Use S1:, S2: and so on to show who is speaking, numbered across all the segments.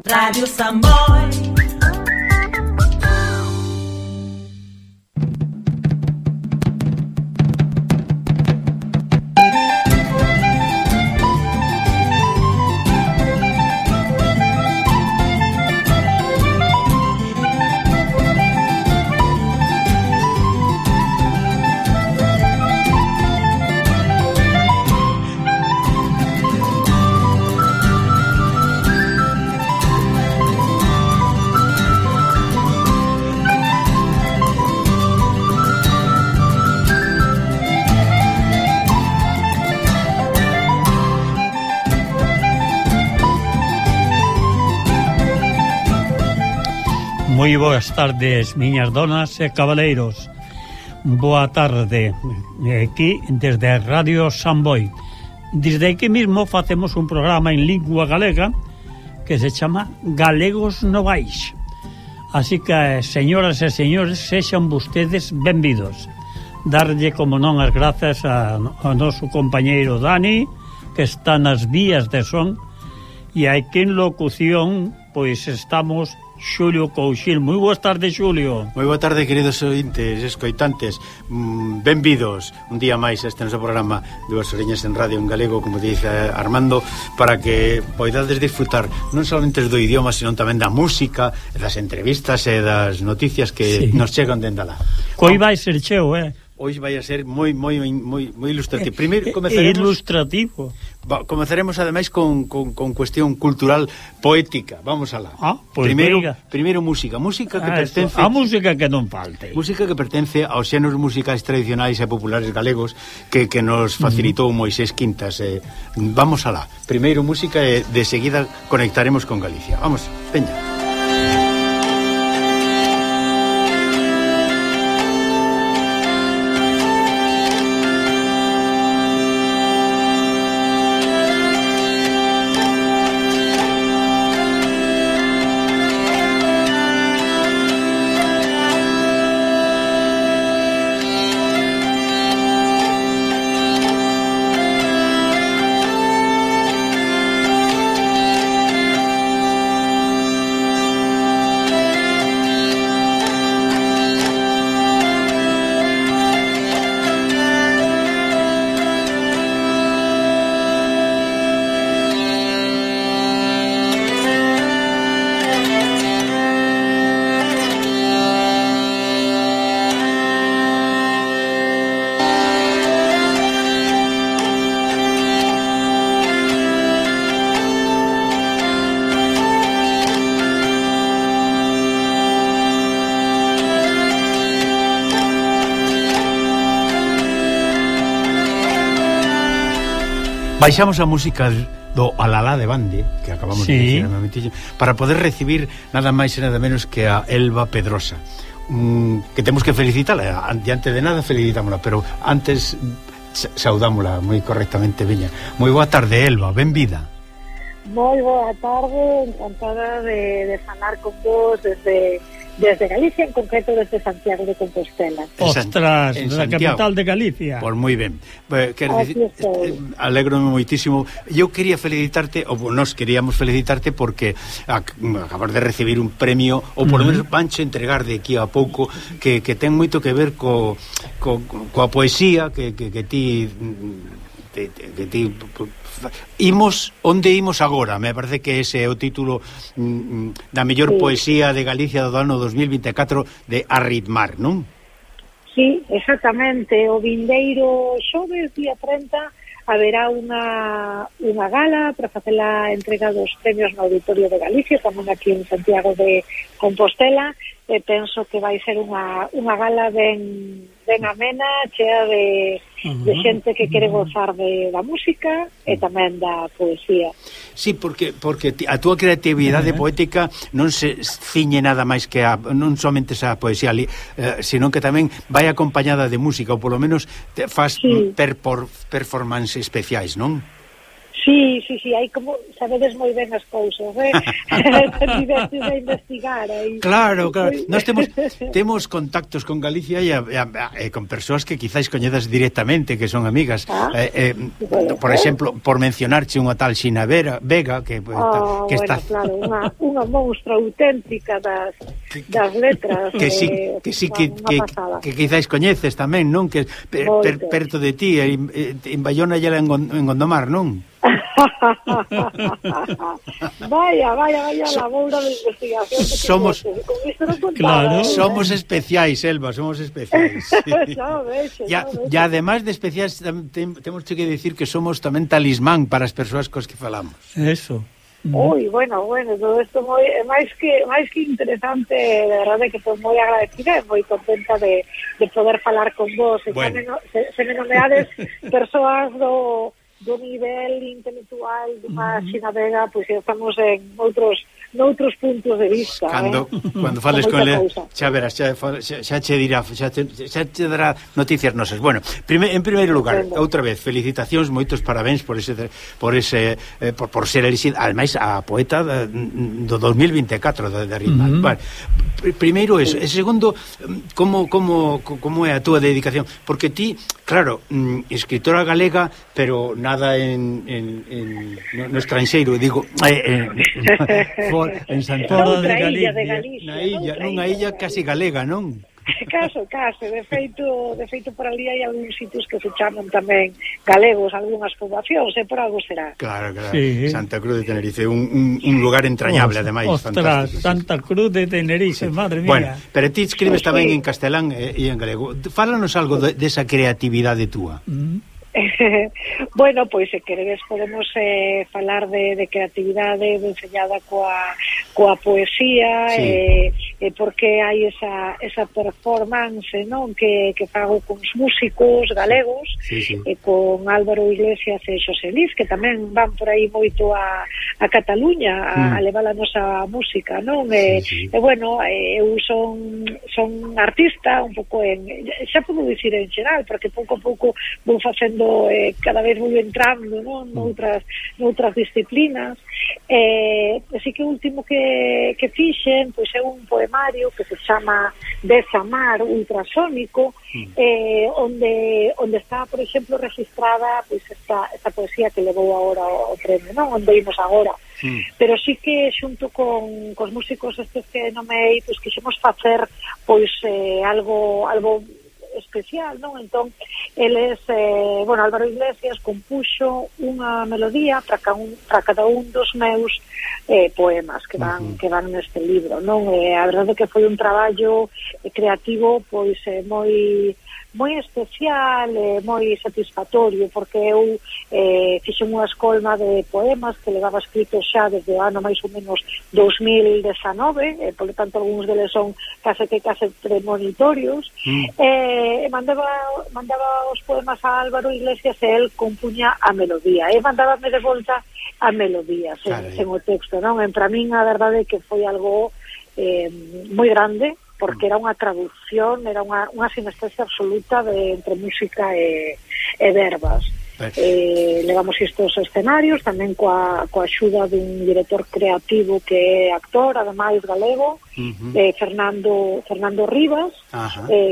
S1: Radio Samboy.
S2: Moi boas tardes, miñas donas e cabaleiros. Boa tarde, aquí desde Radio Samboy. Desde aquí mismo facemos un programa en lingua galega que se chama Galegos Novais. Así que, señoras e señores, sexan vostedes benvidos. Darlle, como non, as grazas ao noso compañeiro Dani, que está nas vías de son, e aquí en locución, pois estamos Xulio Couchil. Moi boas tardes, Xulio.
S3: Moi boa tarde, queridos ointes, escoitantes. Benvidos un día máis a este noso programa Dúas Oreñas en Radio en Galego, como dice Armando, para que poidades disfrutar non solamente do idioma, sino tamén da música, das entrevistas e das noticias que nos chegan dende alá.
S2: Coi vai ser cheo,
S3: Hoxe vai a ser moi ilustrativo. Primeiro comezaremos
S2: ilustrativo.
S3: Comezaremos ademais con cuestión cultural poética. Vamos alá.
S2: Pois
S3: primeiro música que pertence
S2: a música que non falte.
S3: Música que pertence aos xéneros musicais tradicionais e populares galegos que nos facilitou Moisés Quintas. Vamos alá. Primeiro música e de seguida conectaremos con Galicia. Vamos, veña. Baixamos a música do Alalá de Bande, que acabamos de dicir, para poder recibir nada máis e nada menos que a Elba Pedrosa, que temos que felicitarla. Diante de nada felicitámola, pero antes saudámola moi correctamente. Veña, moi boa tarde, Elba, benvida.
S4: Moi boa tarde, encantada de falar con vos desde Galicia, en concreto desde Santiago de Compostela.
S2: Ostras, na capital de Galicia.
S3: Pois moi ben. Alegro-me moitísimo. Eu quería felicitarte, ou nos queríamos felicitarte porque acabas de recibir un premio, ou por lo menos vanche entregar de aquí a pouco, que ten moito que ver coa poesía que ti onde imos agora. Me parece que ese é o título da mellor poesía de Galicia do ano 2024 de Arritmar, non?
S4: Sí, exactamente. O vindeiro xoves, día 30, haberá unha gala para facer a entrega dos premios no Auditorio de Galicia, tamén aquí en Santiago de Compostela, e penso que vai ser unha gala ben amena, chea de xente que quere gozar da música e tamén da poesía.
S3: Sí, porque a túa creatividade poética non se ciñe nada máis que non somente esa poesía ali, sino que tamén vai acompañada de música, ou polo menos faz performances especiais, non?
S4: Sí, hai como sabedes moi ben as cousas, Tivestes a investigar aí.
S3: Claro, nós temos contactos con Galicia e con persoas que quizáis coñedas directamente, que son amigas. Por exemplo, por mencionarche unha tal Xina Vega que está...
S4: Claro, unha monstra auténtica das letras.
S3: Que quizáis coñeces tamén, non? Que perto de ti, en Bayona e en Gondomar, non?
S4: Vaya labora de investigación que
S3: somos especiais, Elba, somos especiais. E ademais de especiais temos que decir que somos tamén talismán para as persoas cos que falamos.
S2: Eso.
S4: Ui, bueno, todo isto é máis que interesante, de verdade que estou moi agradecida e moi contenta de poder falar con vos. Se me nomeades persoas do nivel intelectual dunha Xina Vega, pois estamos en noutros puntos de vista.
S3: Cando fales con ele, xa verás, xa te dirá, xa te dará noticias nosas. Bueno, en primeiro lugar, outra vez, felicitacións, moitos parabéns por ser elixida, ademais a poeta do 2024 de Rimal. Vale. Primeiro eso, e segundo, como é a túa dedicación? Porque ti, claro, escritora galega, pero nada no estranxeiro, digo, en Santiago
S4: de Galicia,
S3: nunha illa casi galega, non?
S4: Caso, de feito por ali hai algúns sitios que se chaman tamén galegos, algunhas poboacións, por algo será.
S3: Claro, sí. Santa Cruz de Tenerife, un lugar entrañable, ademais, fantástico.
S2: Santa Cruz de Tenerife, madre mía.
S3: Bueno, pero ti escribes tamén en castelán e en galego. Fálanos algo desa creatividade túa.
S4: Bueno, pois se queredes podemos falar de creatividade enseñada coa poesía, sí. Porque hai esa performance, non, que fago con os músicos galegos, sí. Con Álvaro Iglesias e Xosé Liz, que tamén van por aí moito a Cataluña a levar a nosa música, non? Sí. E bueno, eu son artista un pouco xa podo dicir en xeral, porque pouco a pouco vou facendo cada vez vou entrando, non, noutras disciplinas. Así que o último que fixen pois é un poemario que se chama Desamar ultrasónico, onde está, por exemplo, registrada pois esta poesía que levou agora o premio, non, onde imos agora. Pero sí que xunto con os músicos estes que nomei, pois quixemos facer pois algo especial, non? Entón, eles, Álvaro Iglesias compuxo unha melodía para cada un dos meus poemas que van neste libro, non? A verdade que foi un traballo creativo pois moi especial e moi satisfactorio, porque eu fixen unha escolma de poemas que levaba escritos xa desde o ano máis ou menos 2019, por lo tanto algúns deles son case premonitorios, e mandaba os poemas a Álvaro Iglesias e el compuña a melodía, e mandábame de volta a melodía sen o texto, non? Para min a verdade que foi algo moi grande, porque era unha traducción, era unha sinestesia absoluta entre música e verbas. Levamos estos escenarios tamén coa axuda dun director creativo que é actor, ademais galego, Fernando Rivas,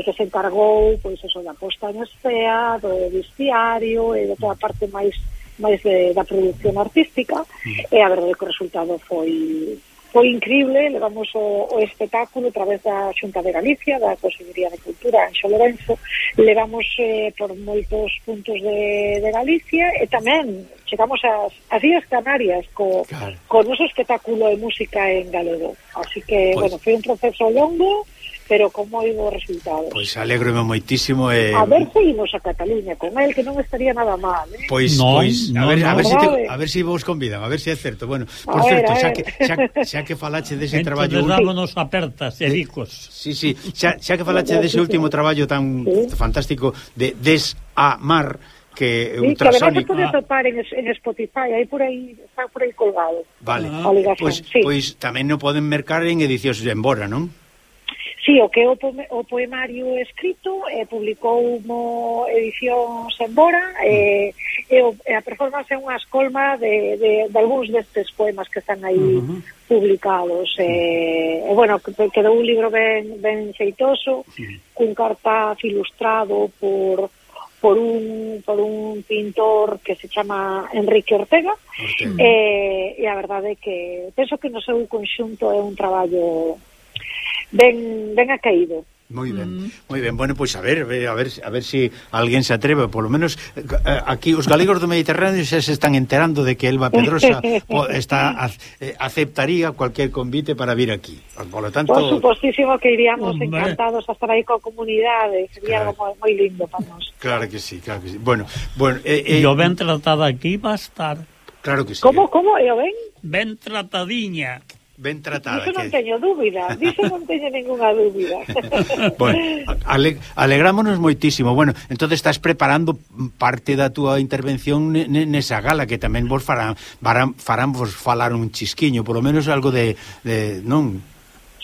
S4: que se encargou pois eso da posta en escena, do vestiario e de toda a parte máis da produción artística, e a verdade que o resultado foi increíble. Levamos o espectáculo a través da Xunta de Galicia, da Consellería de Cultura en Xolorenzo, levamos por moitos puntos de Galicia, e tamén chegamos ás Illas Canarias co noso espectáculo de música en galego. Así que, foi un proceso longo, pero con moi bo resultado.
S3: Pois alégrome moitísimo
S4: a ver se imos a Cataluña con el, que non estaría nada mal,
S3: Pois a ver se vos convidan, a ver se é certo. Bueno, por certo, xa que falache dese traballo,
S2: dámonos apertas e bicos.
S3: Sí, xa que falache dese último traballo tan fantástico de Desamar, que
S4: ultrasónico. Que además se pode topar en Spotify, está por aí colgado.
S3: Vale, pois tamén non poden mercar en edicións de Embora, non?
S4: Sí, o que o poemario escrito publicou edicións Embora, e e a performance é unha escolma de algúns destes poemas que están aí publicados, e bueno, quedou un libro ben xeitoso, cun cartaz ilustrado por un pintor que se chama Enrique Ortega. E a verdade é que penso que no seu conxunto é un traballo ben acaído.
S3: Moi ben, moi ben. Bueno, pois a ver se alguén se atreve, polo menos aquí os galegos do Mediterráneo xa se están enterando de que Elba Pedrosa aceptaría cualquier convite para vir aquí. Por lo tanto,
S4: por supostísimo que iríamos encantados a estar aí coa comunidade, sería algo moi lindo para nós.
S3: Claro que sí, claro que sí. Bueno,
S2: yo ben tratada aquí va a estar.
S3: Claro que sí.
S4: Como? Eu ben?
S2: Ben tratadiña.
S3: Ben tratada.
S4: Diso non teño dúbida, non teño ninguna dúbida.
S3: Bueno, alegrámonos moitísimo. Bueno, entonces estás preparando parte da túa intervención nesa gala, que tamén vos farán vos falar un chisquiño, polo menos algo de non?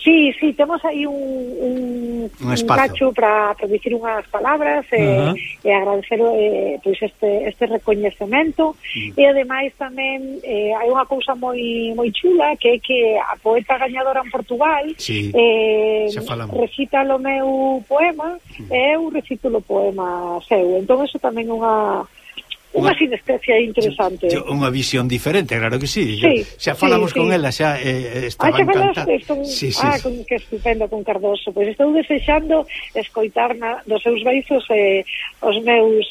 S4: Sí, temos aí un cacho para dicir unhas palabras e agradecer pois este recoñecemento e ademais tamén hai unha cousa moi chula que é que a poeta gañadora en Portugal recita o meu poema e eu recito o poema seu, entón eso tamén é unha sinestesia interesante.
S3: Unha visión diferente, claro que sí. Xa falamos con ela, xa estaba encantada.
S4: Que estupendo con Cardoso. Pois estou desexando escoitar dos seus beizos os meus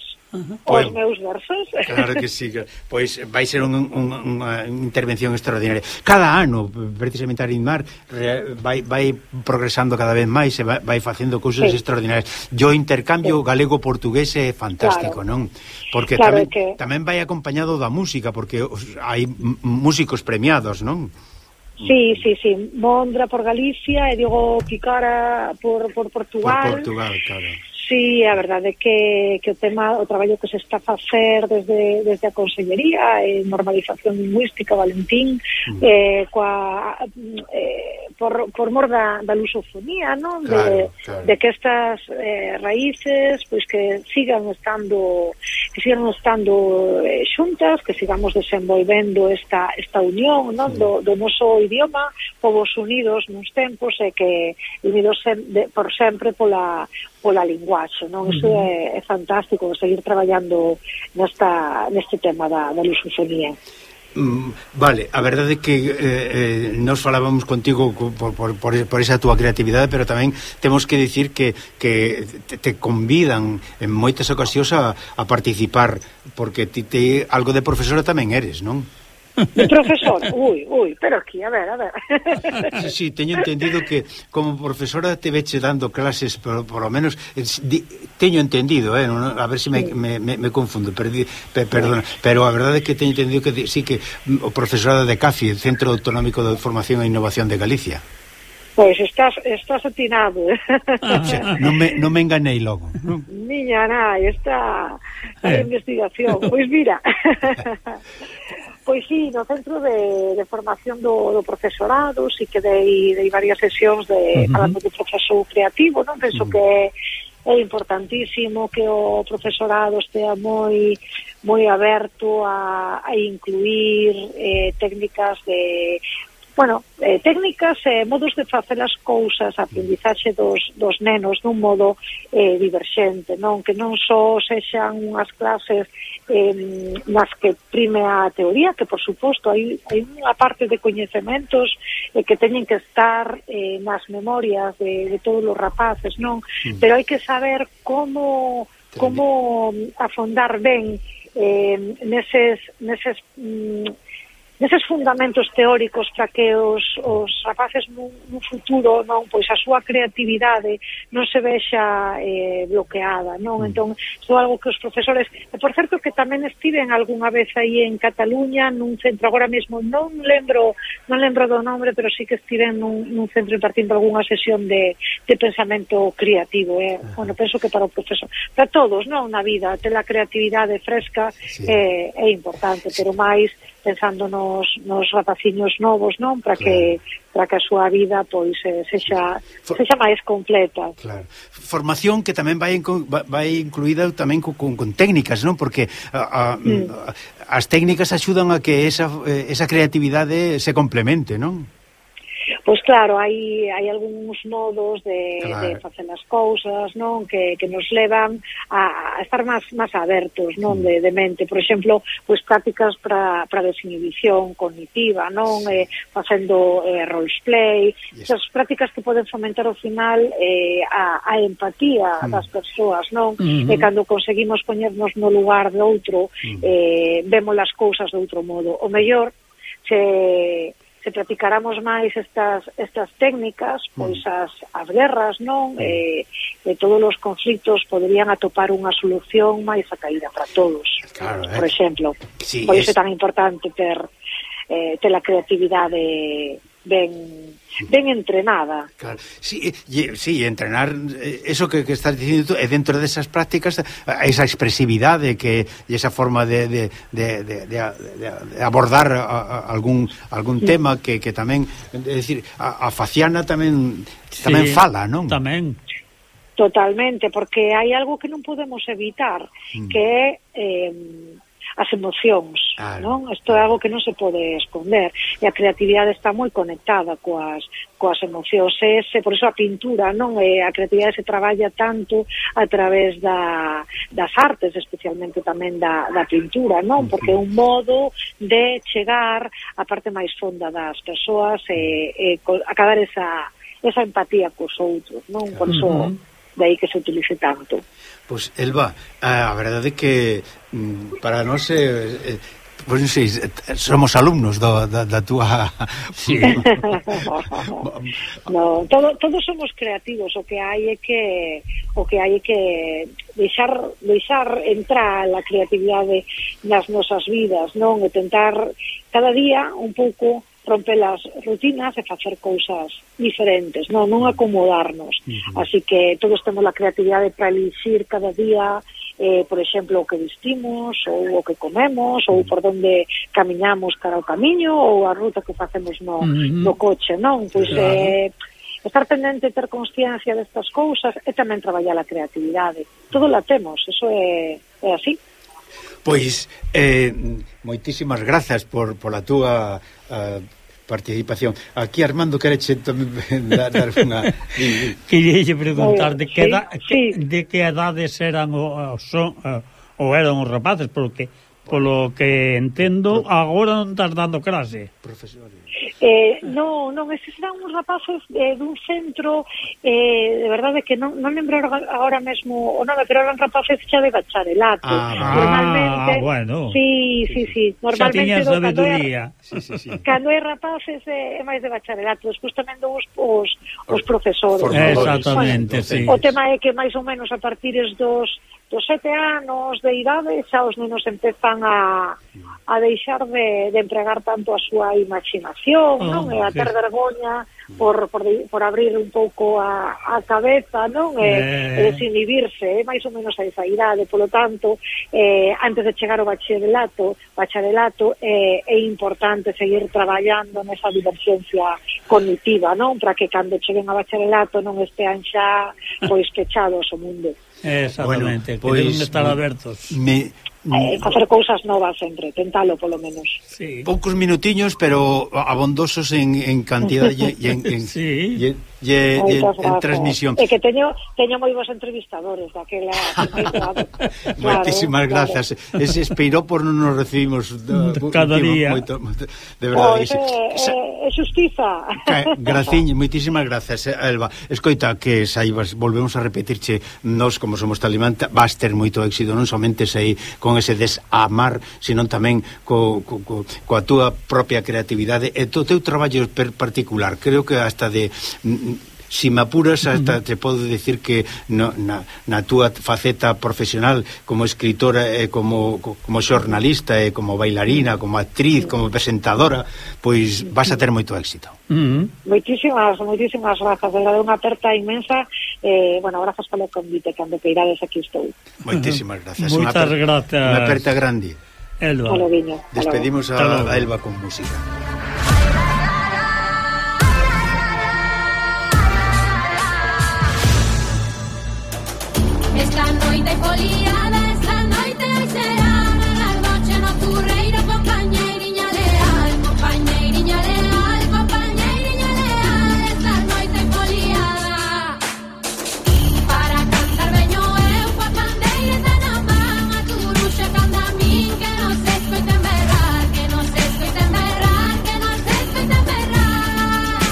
S4: versos.
S3: Claro que sí. Pois vai ser unha intervención extraordinaria. Cada ano, precisamente Arimar vai progresando cada vez máis e vai facendo cousas extraordinarias. O intercambio galego-portugués é fantástico, non? Porque tamén vai acompañado da música, porque hai músicos premiados, non?
S4: Sí. Mondra por Galicia e Diego Picara por Portugal.
S3: Por Portugal, claro.
S4: Sí, a verdade é que o traballo que se está a facer desde a Consellería en normalización lingüística, Valentín, por mor da lusofonía, non?
S3: Claro.
S4: De que estas raíces pois que sigan estando xuntas, que sigamos desenvolvendo esta unión, non? Do noso idioma, povos unidos nuns tempos e que unidos por sempre pola linguaxe, non? Iso é fantástico, seguir traballando neste tema da lusofonía.
S3: Vale, a verdade é que nos falábamos contigo por esa túa creatividade, pero tamén temos que dicir que te convidan en moitas ocasións a participar, porque ti algo de profesora tamén eres, non?
S4: De profesor, pero aquí, a ver.
S3: Sí, teño entendido que como profesora te veche dando clases, por lo menos teño entendido, a ver se me confundo, perdona, pero a verdade é que teño entendido que sí, que o profesorado de CAFI, Centro Autonómico de Formación e Innovación de Galicia.
S4: Pois estás atinado.
S3: Non me enganei logo.
S4: Miña nai, esta investigación. Pois mira... Pois sí, no Centro de Formación do Profesorado sí que dei varias sesións falando do proceso creativo, non? Penso que é importantísimo que o profesorado estea moi aberto a incluir técnicas técnicas e modos de facer as cousas, a aprendizaxe dos nenos dun modo diverxente, non? Que non só sexan unhas clases nas que prime a teoría, que por suposto hai unha parte de coñecementos que teñen que estar nas memorias de todos os rapaces, non? Pero hai que saber como afondar ben neses fundamentos teóricos para que os rapaces nun futuro, non, pois a súa creatividade non se vexa bloqueada, non? Entón, isto é algo que os profesores, e por certo que tamén estiven algunha vez aí en Cataluña nun centro, agora mesmo non lembro do nombre, pero sí que estiven nun centro impartindo algunha sesión de pensamento creativo, bueno, penso que para o profesor, para todos, non, na vida, ter a creatividade fresca é importante, pero máis pensando nos rapaciños novos, non? Para que a súa vida pois sexa máis completa.
S3: Claro. Formación que tamén vai incluída tamén con técnicas, non? Porque as técnicas axudan a que esa creatividade se complemente, non?
S4: Pois claro, hai algúns modos de facer as cousas, non, que nos levan a estar máis abertos, non, de mente. Por exemplo, pois prácticas para desinhibición cognitiva, non, facendo roleplay, esas prácticas que poden fomentar ao final a empatía das persoas, non? E cando conseguimos poñernos no lugar de outro, vemos as cousas de outro modo. O mellor se practicáramos máis estas técnicas, pois as guerras, non? E todos os conflitos poderían atopar unha solución máis acaída para todos. Claro, por exemplo. Sí, por iso é tan importante ter a creatividade ben entrenada.
S3: Claro. Sí, entrenar eso que estás dicindo é dentro desas prácticas, esa expresividade que esa forma de abordar algún tema que tamén, é dicir, a faciana tamén fala, non?
S2: Tamén.
S4: Totalmente, porque hai algo que non podemos evitar, que é as emocións, non? Isto é algo que non se pode esconder, e a creatividade está moi conectada coas emocións. Por iso a pintura, non? A creatividade se traballa tanto a través das artes, especialmente tamén da pintura, non? Porque é un modo de chegar á parte máis fonda das persoas e acabar esa empatía cos outros, non? Por iso de aí que se utilice tanto.
S3: Pois, Elba, a verdade é que para nós pois non sei, somos alumnos da túa...
S2: Sí.
S4: No, todos somos creativos, o que hai é que deixar entrar a creatividade nas nosas vidas, non? E tentar cada día un pouco romper as rutinas e facer cousas diferentes, non acomodarnos. Así que todos temos a creatividade para elixir cada día, por exemplo, o que vestimos, ou o que comemos, ou por onde camiñamos cara ao camiño, ou a ruta que facemos no coche, non? Pois estar pendente, ter consciencia destas cousas e tamén traballar a creatividade. Todo la temos, eso é así.
S3: Pois, moitísimas grazas por a túa participación. Aquí Armando quereche tamén dar unha...
S2: Queríalle preguntar de que edades eran ou eran os rapaces, porque polo que entendo agora non estás dando clase.
S3: Profesores.
S4: Non, estes eran uns rapaces dun centro, de verdade que non lembro agora mesmo o nome, pero eran rapaces xa de bacharelato. Normalmente,
S2: bueno.
S4: Sí, normalmente
S2: xa tiñas sabedoría.
S4: Cando hai rapaces é máis de bacharelato, despois tamén os profesores.
S2: Exactamente, sí.
S4: O tema é que máis ou menos a partir dos 7 anos de idade xa os nenos empezan a deixar de empregar tanto a súa imaginación, non? E a ter vergoña por abrir un pouco a cabeza, non? E desinhibirse, máis ou menos a esa idade. Polo tanto, antes de chegar ao bacharelato é importante seguir traballando nesa divergencia cognitiva, non? Para que cando cheguen a bacharelato non estean xa pois pechados ao mundo.
S2: Exactamente, bueno, que deben estar abertos.
S4: Facer cousas novas sempre, tentalo polo menos.
S2: Sí.
S3: Poucos minutiños, pero abondosos en cantidad e en transmisión.
S4: É que teño moi bons entrevistadores daquela.
S3: Moitísimas grazas. Ese espiró por non nos recibimos
S2: cada día.
S3: De verdade.
S4: É xustiza.
S3: Graciño, moitísimas grazas, Elba. Escoita, que saibas, volvemos a repetirche, nós como somos Talimán, vas ter moito éxito, non somente sei con ese desamar, senón tamén coa túa propia creatividade e o teu traballo particular. Creo que hasta de... Si me apuras, hasta te podo decir que na túa faceta profesional como escritora e como xornalista e como bailarina, como actriz, como presentadora, pois vas a ter moito éxito.
S4: Moitísimas grazas, de unha aperta inmensa. Grazas polo convite, cando queirades aquí estou.
S3: Moitísimas grazas.
S2: Moitas grazas.
S3: Unha aperta grande.
S2: Elba.
S3: Despedimos a Elba con música.
S1: Esta noite foliada, esta noite será a noche nocturreira, compañeiriña leal, compañeiriña leal, compañeiriña leal. Esta noite foliada, para cantar veño eu coa pandeireta na man, a turuxa canta a min, que non se escoiten berrar, que non se escoiten berrar, que non se escoiten berrar,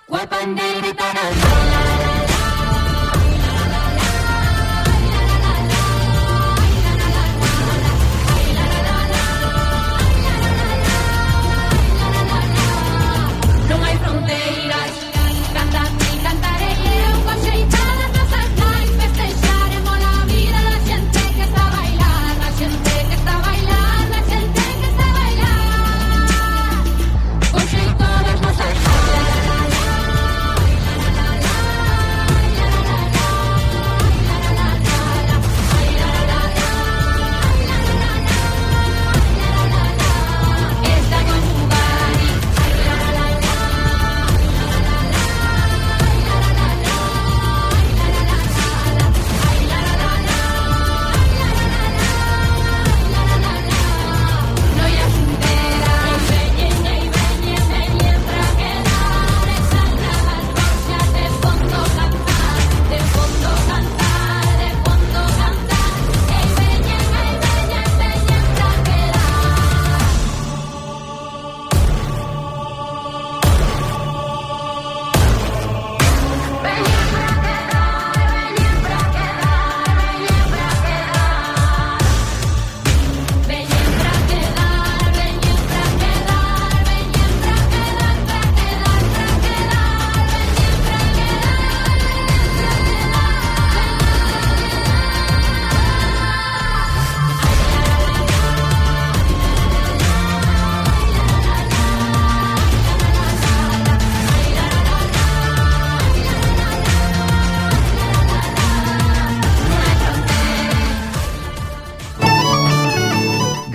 S1: coa pandeireta na man.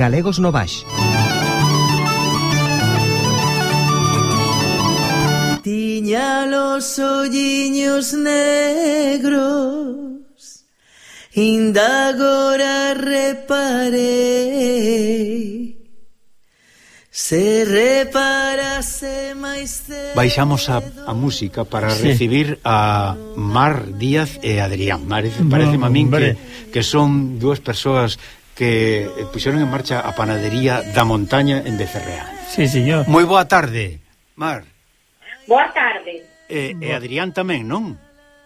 S5: Galegos no Baix.
S6: Tiña los olliños negros, inda agora reparei, se reparase máis cedo.
S3: Baixamos a música para recibir a Mar Díaz e Adrián. Parece a min que son dúas persoas que puxeron en marcha a panadería da Montaña en Becerreá.
S2: Sí, señor.
S3: Moi boa tarde, Mar.
S4: Boa tarde.
S3: E Adrián tamén, non?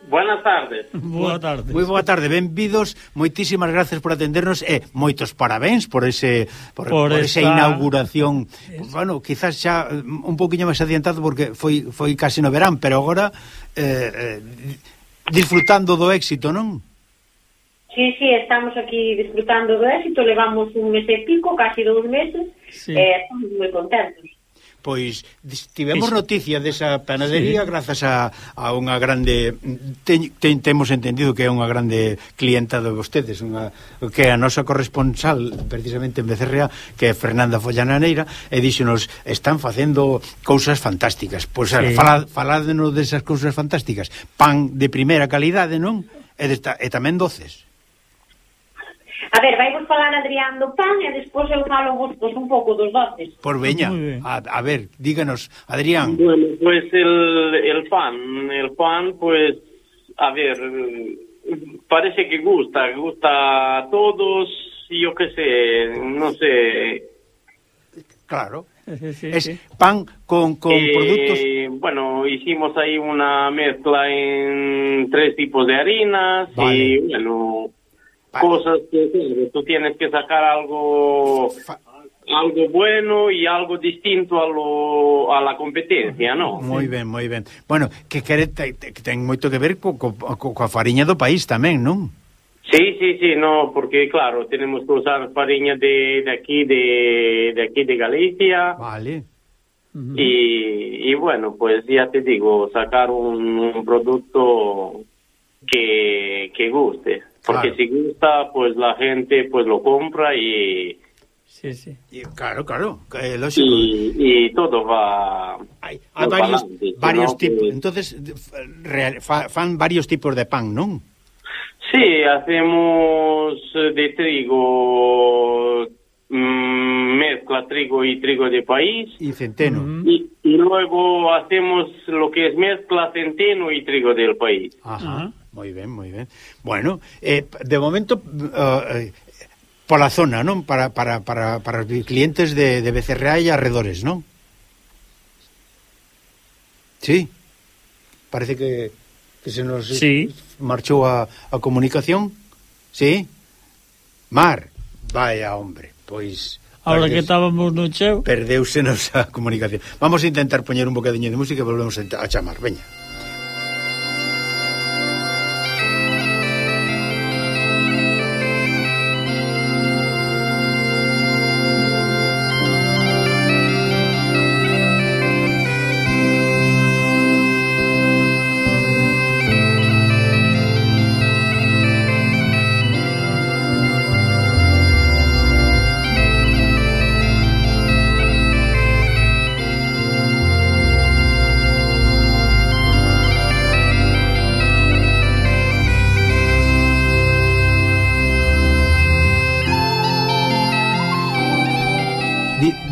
S7: Buenas tardes.
S2: Boa tarde.
S3: Moi boa tarde, benvidos. Moitísimas gracias por atendernos e moitos parabéns por esa inauguración. Bueno, quizás xa un poquinho máis adiantado porque foi casi no verán, pero agora disfrutando do éxito, non?
S4: Sí, estamos aquí disfrutando do éxito, levamos un mes e pico, casi 2 meses, estamos moi contentos.
S3: Pois tivemos noticia desa panadería grazas a unha grande temos entendido que é unha grande clienta de vostedes, que é a nosa corresponsal precisamente en Becerreá, que é Fernanda Follananeira, e díxonos, están facendo cousas fantásticas. Pois faládenos desas cousas fantásticas. Pan de primeira calidade, non? E tamén doces.
S4: A ver, vai vos falar Adrián do pan e despois eu falo vos un pouco dos doces.
S3: Por veña, a ver, díganos, Adrián.
S7: Bueno, pues el pan, pues, a ver, parece que gusta a todos, yo qué sé, no sé.
S3: Claro. Es pan con productos.
S7: Bueno, hicimos ahí una mezcla en 3 tipos de harinas. Vale. Y bueno, cosas que tú tienes que sacar algo bueno y algo distinto a la competencia, ¿no?
S3: Moi ben. Bueno, que ten moito que ver coa fariña do país tamén, non?
S7: Sí, no, porque claro, tenemos que usar fariña de aquí de Galicia.
S3: Vale.
S7: Y bueno, pues ya te digo, sacar un producto que guste. Porque si gusta, pues la gente pues lo compra y
S2: Sí, sí.
S3: Claro, lógico.
S7: Y todo va...
S3: Hai varios tipos. Entonces, fan varios tipos de pan, ¿non?
S7: Sí, hacemos de trigo, mezcla trigo y trigo de país.
S3: Y centeno.
S7: Y luego hacemos lo que es mezcla centeno y trigo del país.
S3: Ajá. Muy bien. Bueno, de momento... pola zona, non? Para os clientes de Becerreá e arredores, non? Sí. Parece que se nos marchou a comunicación. Sí. Mar, vaya hombre, pois...
S2: Ahora que estábamos no cheo...
S3: Perdeusenos a comunicación. Vamos a intentar poñer un bocadiño de música e volvemos a chamar, veña.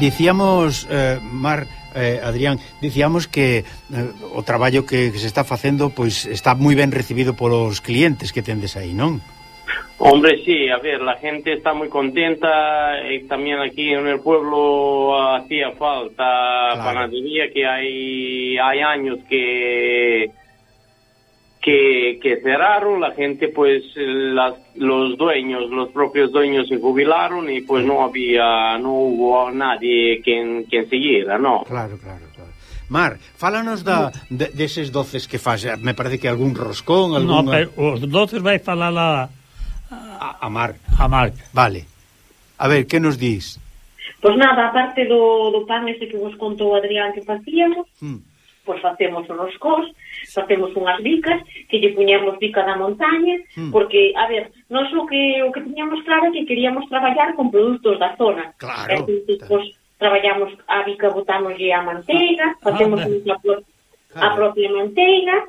S3: Dicíamos, Mar, Adrián, dicíamos que o traballo que se está facendo pois está moi ben recibido polos clientes que tendes aí, non?
S7: Hombre, sí, a ver, la gente está muy contenta, también aquí en el pueblo hacía falta panadería, que hay años que cerraron, la gente pues los propios dueños se jubilaron y pues no hubo nadie quien siguiera, ¿no?
S3: Claro. Mar, fálanos deses doces que faz, me parece que algún roscón,
S2: No, pero os doces vai falar
S3: a Mar.
S2: A Mar.
S3: Vale. A ver, que nos dís?
S5: Pois nada, aparte do pan ese que vos contou Adrián que facíamos, pois facemos os roscós, facemos unhas bicas, que lle puñemos bica da montaña, porque, a ver, nós o que tiñamos claro é que queríamos traballar con produtos da zona.
S3: Claro.
S5: Entón, pois, traballamos a bica, botámoslle a manteiga, facemos a propia manteiga,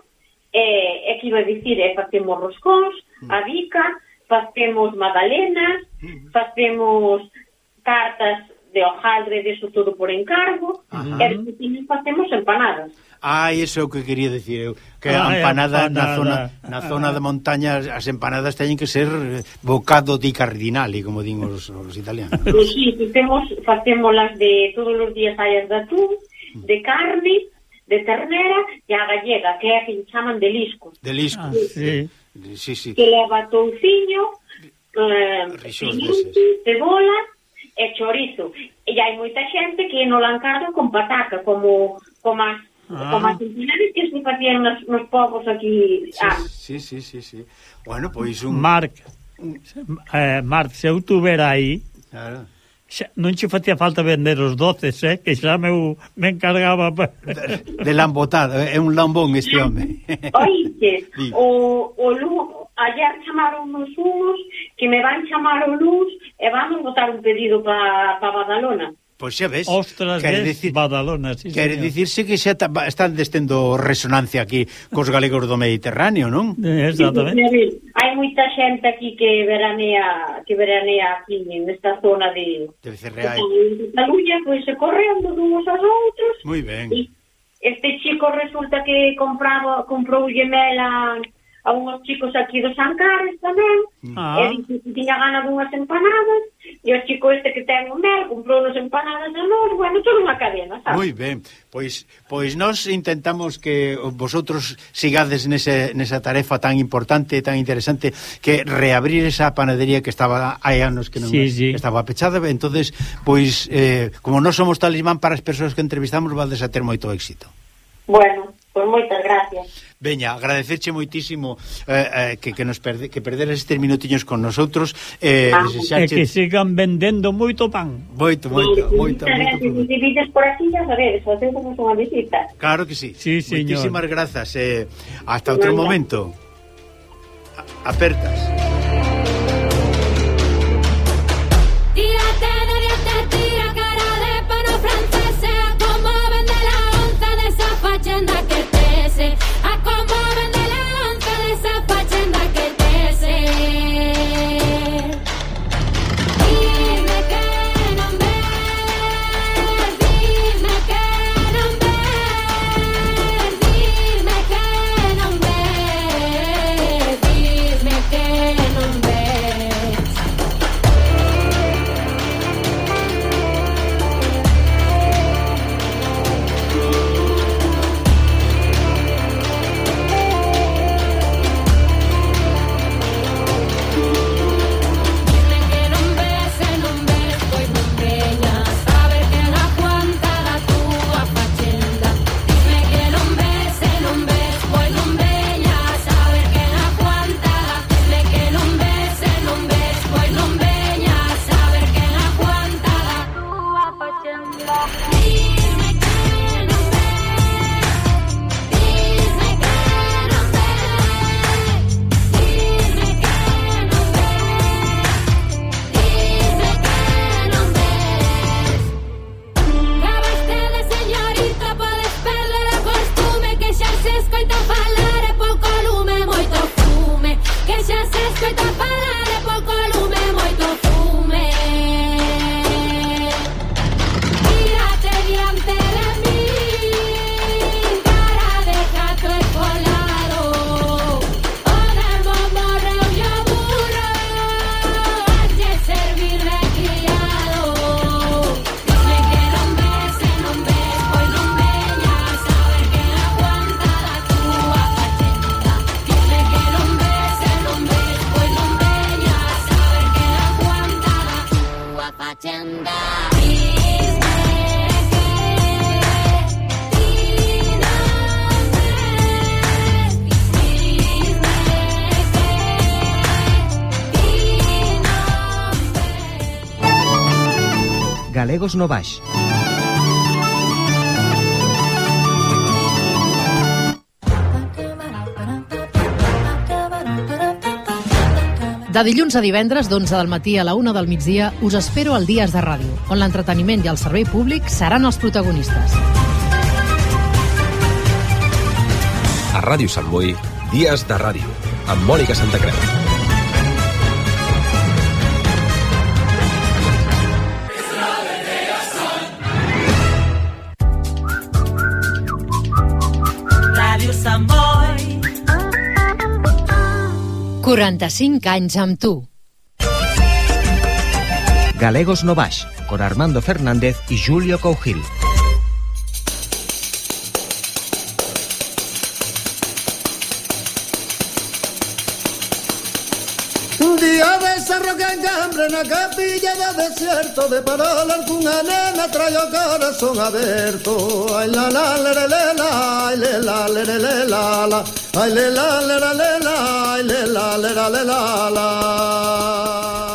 S5: e que iba a dicir, facemos roscós, a bica, facemos magdalenas, facemos tartas de hojaldre, de eso todo por encargo, e despois facemos empanadas.
S3: Iso é o que quería dicir eu, que a empanada na zona de montaña, as empanadas teñen que ser bocado di cardinali, como din os italianos.
S5: Pois sí, facémolas de todos os días hai as de atún, de carne, de ternera e a gallega, que é a que chaman de lisco.
S3: De lisco.
S2: Sí.
S5: Que leva touciño, cebola e chorizo. E hai moita xente que non la encarga con pataca, como as empanadas que se facían nos povos aquí.
S3: Sí. Bueno, pois un...
S2: Marc, se eu tuvera aí,
S3: claro,
S2: non che facía falta vender os doces, que xa me encargaba
S3: de lambotado, é un lambón este home.
S5: Oíste, ayer chamaron uns que me van chamar o luz e vamos botar un pedido para Badalona.
S3: Pois xa ves,
S2: Ostras, Badalona, sí,
S3: quere dicirse que xa están destendo resonancia aquí cos galegos do Mediterráneo, non?
S2: Exactamente.
S5: Hai moita xente aquí que veranea aquí nesta zona de
S3: Becerreá.
S5: De Cataluña, pois se correndo uns aos outros.
S3: Moi ben.
S5: Este chico resulta que comprou mel a unhos chicos aquí do San Carlos tamén, e dixo que tiña gana dunhas empanadas, e o chico este que ten o mel comprou unas empanadas a nós, bueno, toda unha cadena, sabes?
S3: Moi ben, pois nós intentamos que vosotros sigades nesa tarefa tan importante, tan interesante, que reabrir esa panadería que estaba hai anos que non estaba pechada, entonces, pois, como nós somos talismán para as persoas que entrevistamos, vades a ter moito éxito.
S5: Bueno, pois moitas gracias.
S3: Veña, agradecerche moitísimo que perderas estes minutiños con nosotros,
S2: que sigan vendendo moito pan.
S3: Moito.
S5: Se divides por aquí, ya sabedes, facemos unha visita.
S3: Claro que sí.
S2: Sí, señor.
S3: Moitísimas grazas. Hasta outro momento. Apertas.
S1: Tírate, escoita falar e pouco lume, moito fume. Que xa se escoita falar e pouco lume, moito fume. Tírate diante de mí, cara de gato escolado. O demo morreu e o burro, halle servir de criado. Dime que non ves, e non ves, pois non veñas a ver que aguanta da túa fachenda. Dime que non ves, e non ves, pois non veñas a ver que aguanta da túa fachenda.
S8: Galegos no Baix.
S9: De dilluns a divendres, d'11 del matí a la 1 del migdia, us espero al Dies de Ràdio, on l'entreteniment i el servei públic seran els protagonistes.
S10: A Ràdio Sant Boi, Dies de Ràdio, amb Mònica Santacreu.
S6: Ràdio Sant Boi.
S9: 45 anys amb tu.
S8: Galegos no Baix, con Armando Fernández y Julio Cougil.
S11: Un día de cerro que encambre na capilla do desierto de parola algunha nena trae o corazón aberto. Ai la la la la la, ai le la la la la la, ai le la la la la, ai le la la la la.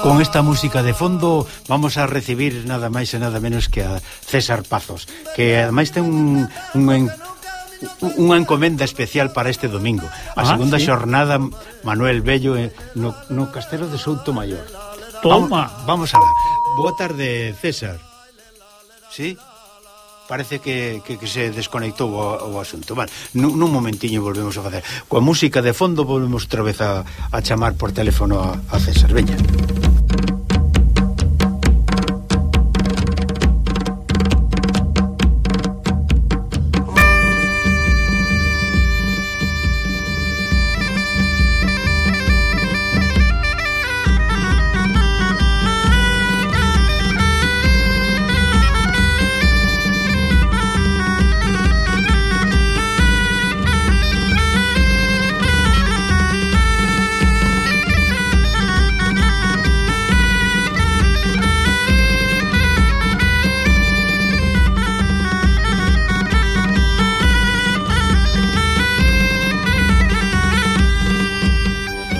S3: Con esta música de fondo vamos a recibir nada máis e nada menos que a César Pazos, que ademais ten unha encomenda especial para este domingo, a segunda xornada Manuel Bello no Castelo de Soutomaior.
S2: Toma.
S3: Vamos alá. Boa tarde, César. Sí? Parece que se desconectou o asunto. Vale, nun momentiño volvemos a facer. Coa música de fondo volvemos outra vez a chamar por teléfono a César. Veña.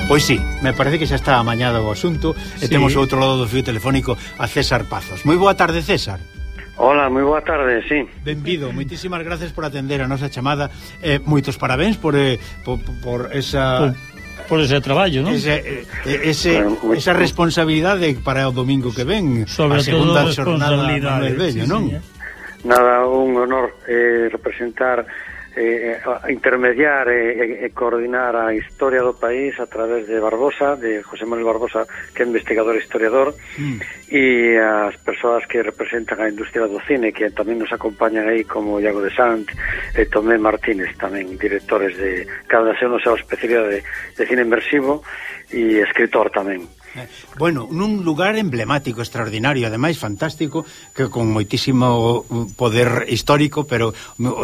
S3: Pois sí, me parece que xa está amañado o asunto e temos ao outro lado do fío telefónico a César Pazos. Moi boa tarde, César.
S12: Hola, moi boa tarde, sí.
S3: Benvido, moitísimas gracias por atender a nosa chamada. Moitos parabéns por esa...
S2: Por ese traballo, non?
S3: Esa responsabilidade para o domingo que ven,
S2: sobre
S3: a segunda xornada
S2: Manuel
S3: Bello, non?
S12: Nada, un honor representar, intermediar e coordinar a historia do país a través de Barbosa, de José Manuel Barbosa, que é investigador e historiador, e as persoas que representan a industria do cine, que tamén nos acompañan aí, como Iago de Sant e Tomé Martínez, tamén directores de cada nación no seu especialidade de cine inmersivo e escritor tamén.
S3: Bueno, nun lugar emblemático, extraordinario, ademais fantástico, que con moitísimo poder histórico, pero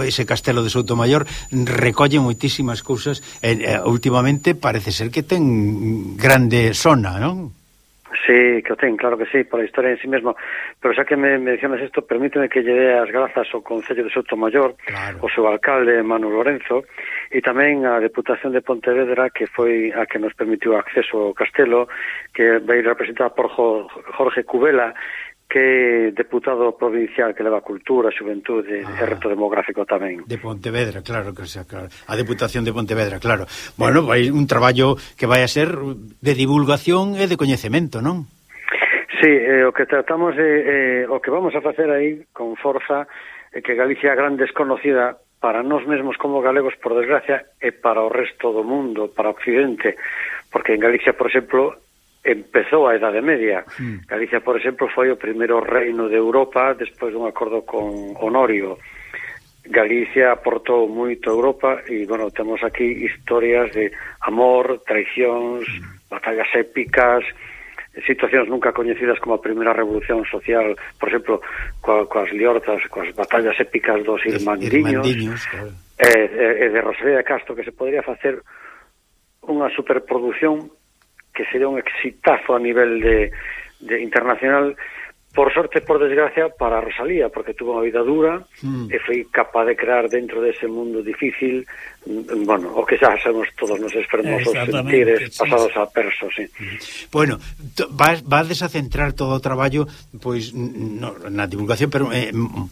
S3: ese castelo de Soutomaior recolle moitísimas cousas e últimamente parece ser que ten grande sona, non?
S12: Sí, que o ten, claro que sí, pola historia en sí mesmo, pero xa que me mencionas isto, permíteme que lle dé as grazas ao Concello de Soutomaior, o seu alcalde Manu Lorenzo, e tamén a Deputación de Pontevedra, que foi a que nos permitiu acceso ao castelo, que vai representada por Jorge Cubela, que é deputado provincial que leva cultura, xuventude e reto demográfico tamén.
S3: De Pontevedra, claro que sea, claro. A Deputación de Pontevedra, claro. Bueno, vai un traballo que vai a ser de divulgación e de coñecemento, non?
S12: Sí, o que tratamos o que vamos a facer aí con forza é que Galicia é gran desconocida para nós mesmos como galegos, por desgracia, e para o resto do mundo, para o Occidente, porque en Galicia, por exemplo, empezou a Idade Media. Galicia, por exemplo, foi o primeiro reino de Europa despois dun acordo con Honorio. Galicia aportou moito a Europa e, bueno, temos aquí historias de amor, traicións, batallas épicas, situacións nunca coñecidas como a primeira revolución social, por exemplo, coas liortas, coas batallas épicas dos irmandiños, claro. E de Rosalía de Castro, que se podría facer unha superproducción que sería un exitazo a nivel de internacional, por sorte, por desgracia, para Rosalía, porque tuvo unha vida dura e foi capaz de crear dentro dese mundo difícil, bueno, o que xa sabemos todos nos fermosos sentires pasados a perso, sí.
S3: Bueno, vades a centrar todo o traballo pois na divulgación, pero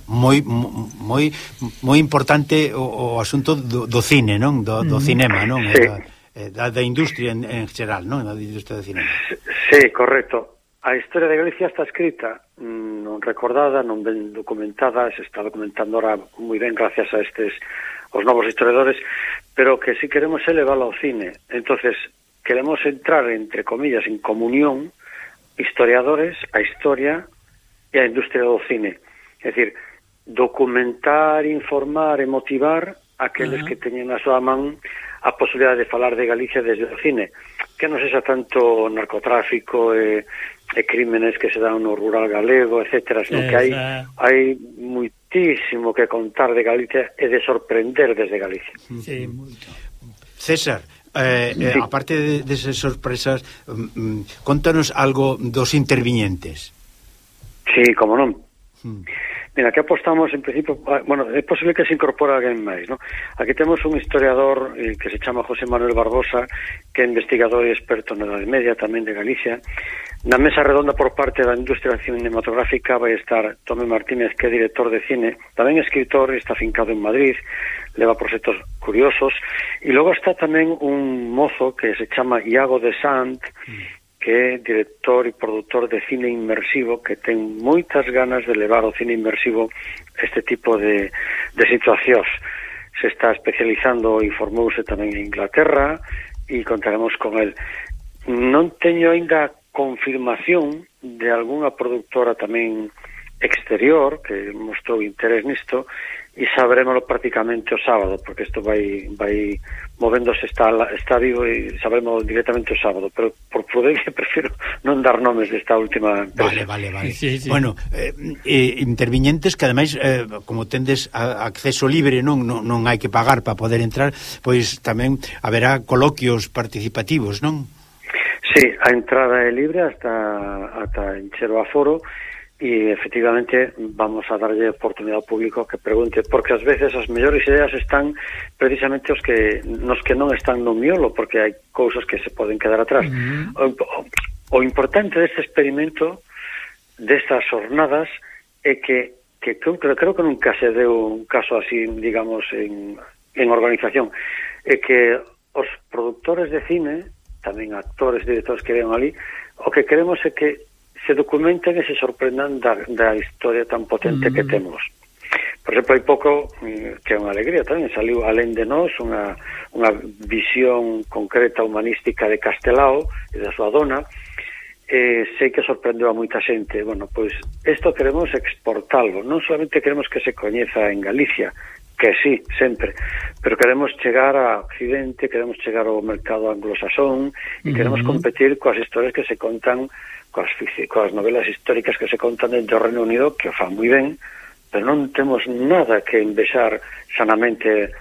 S3: moi importante o asunto do cine, non? Do cinema, non?
S12: Sí.
S3: Da industria en xeral, non? Da industria do cinema.
S12: Sí, correcto. A historia de Galicia está escrita, non recordada, non ben documentada, se está documentando ahora moi ben gracias a os novos historiadores, pero que si queremos elevarla ao cine. Entonces, queremos entrar, entre comillas, en comunión historiadores, a historia e a industria do cine. É dicir, documentar, informar e motivar aqueles que teñen na súa man a posibilidade de falar de Galicia desde o cine, que non sexa tanto narcotráfico e crímenes que se dan no rural galego, etcétera, sino que hai muitísimo que contar de Galicia e de sorprender desde Galicia.
S2: Sí, moito.
S3: César, aparte desas sorpresas, contanos algo dos interviñentes.
S12: Sí, como non. Mira, aquí apostamos, en principio, bueno, é posible que se incorpore alguén máis, ¿no? Aquí temos un historiador que se chama José Manuel Barbosa, que é investigador e experto na Idade Media, tamén de Galicia. Na mesa redonda por parte da industria cinematográfica vai estar Tomé Martínez, que é director de cine, tamén escritor, está afincado en Madrid, leva proxectos curiosos, e logo está tamén un mozo que se chama Iago de Sant, que é director e produtor de cine inmersivo, que ten moitas ganas de levar o cine inmersivo este tipo de situacións. Se está especializando e formouse tamén en Inglaterra e contaremos con el. Non teño ainda confirmación de algunha productora tamén exterior que mostrou interés nisto e sabremoslo prácticamente o sábado, porque isto vai movéndose, está vivo e sabremos directamente o sábado, pero por prudencia prefiro non dar nomes desta última empresa.
S3: Vale. Sí. Bueno, interviñentes que ademais como tendes acceso libre, non hai que pagar para poder entrar, pois tamén haberá coloquios participativos, non?
S12: Sí, a entrada é libre ata encher o aforo. E, efectivamente, vamos a darlle oportunidade ao público que pregunte, porque ás veces as mellores ideas están precisamente nos que non están no miolo, porque hai cousas que se poden quedar atrás. O importante deste experimento, destas jornadas, é que creo que nunca se deu un caso así, digamos, en organización, é que os productores de cine, tamén actores, directores que vean ali, o que queremos é que se documenten e se sorprendan da historia tan potente que temos. Por exemplo, hai pouco, que é unha alegría tamén, saliu Alén de Nós, unha visión concreta humanística de Castelao e da súa dona, sei que sorprendeu a moita xente. Bueno, pois, isto queremos exportarlo, non solamente queremos que se coñeza en Galicia, que sí, sempre, pero queremos chegar a Occidente, queremos chegar ao mercado anglosasón e queremos competir coas historias que se contan, coas novelas históricas que se contan dentro do Reino Unido, que o fan moi ben, pero non temos nada que envexar sanamente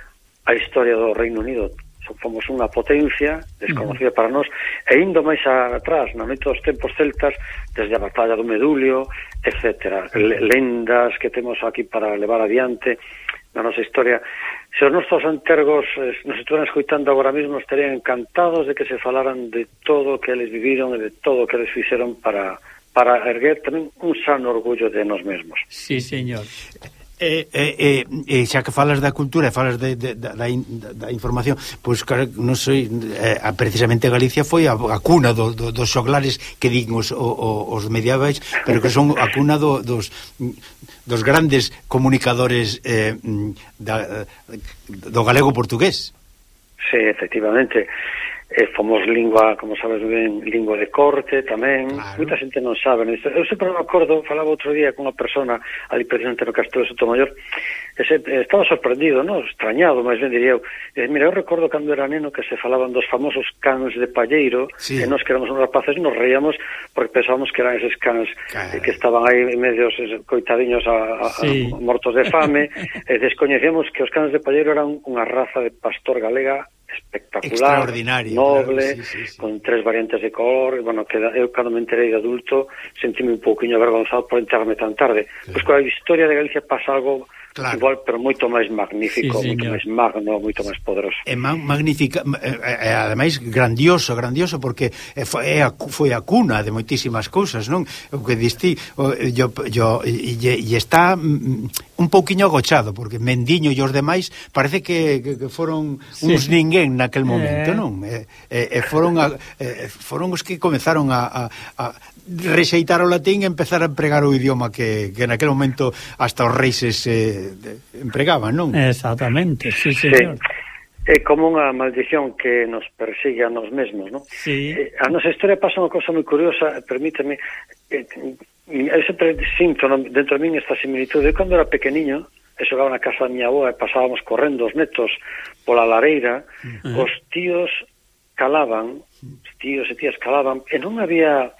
S12: a historia do Reino Unido. Fomos unha potencia desconocida para nós, e indo máis atrás, na noite dos tempos celtas, desde a batalla do Medulio, etcétera, lendas que temos aquí para levar adiante na nosa historia. Se os nosos antergos nos estuvieran escoitando agora mesmo, estarían encantados de que se falaran de todo o que eles viviron e de todo o que eles fixeron para erguer tamén un sano orgullo de nós mesmos.
S2: Sí, señor.
S3: xa que falas da cultura e falas da información, pois non sei, precisamente Galicia foi a cuna dos xoglares que din os medievais, pero que son a cuna dos grandes comunicadores do galego-portugués.
S12: Sí, efectivamente. Fomos lingua, como sabes ben, lingua de corte tamén. Claro. Moita xente non sabe isto. Eu sempre me acordo, falaba outro día con unha persona ali precisamente no Castelo de Sotomayor, estaba sorprendido, non? Extrañado, máis ben diría eu. Mira, eu recordo cando era neno que se falaban dos famosos cans de palleiro, sí. E nós que éramos uns rapaces nos reíamos porque pensábamos que eran eses cans que estaban aí medios coitadiños sí. Mortos de fame, e descoñecíamos que os cans de palleiro eran unha raza de pastor galega espectacular, noble, claro, sí. Con 3 variantes de color. Bueno, que eu cando me enterei de adulto sentíme un pouquiño avergonzado por enterarme tan tarde. Claro. Pois coa historia de Galicia pasa algo claro. Igual, pero moito máis magnífico, sí, moito máis magno, moito máis poderoso. É
S3: magnífica, ademais grandioso, porque foi a cuna de moitísimas cousas, non? O que diste, e está un pouquiño agochado, porque Mendiño e os demais parece que foron uns ninguén naquel momento, non? Foron os que comezaron a rexeitar o latín e empezar a empregar o idioma que naquel momento hasta os reis empregaban, non?
S2: Exactamente, sí, señor.
S12: É como unha maldición que nos persigue a nos mesmos, non?
S2: Sí.
S12: A nosa historia pasa unha cosa moi curiosa, permíteme, eu sempre sinto dentro de min esta similitude. Eu cando era pequeniño, e xogaba na casa da miña avoa e pasábamos correndo os netos pola lareira, os tíos calaban, os tíos e tías calaban, e non había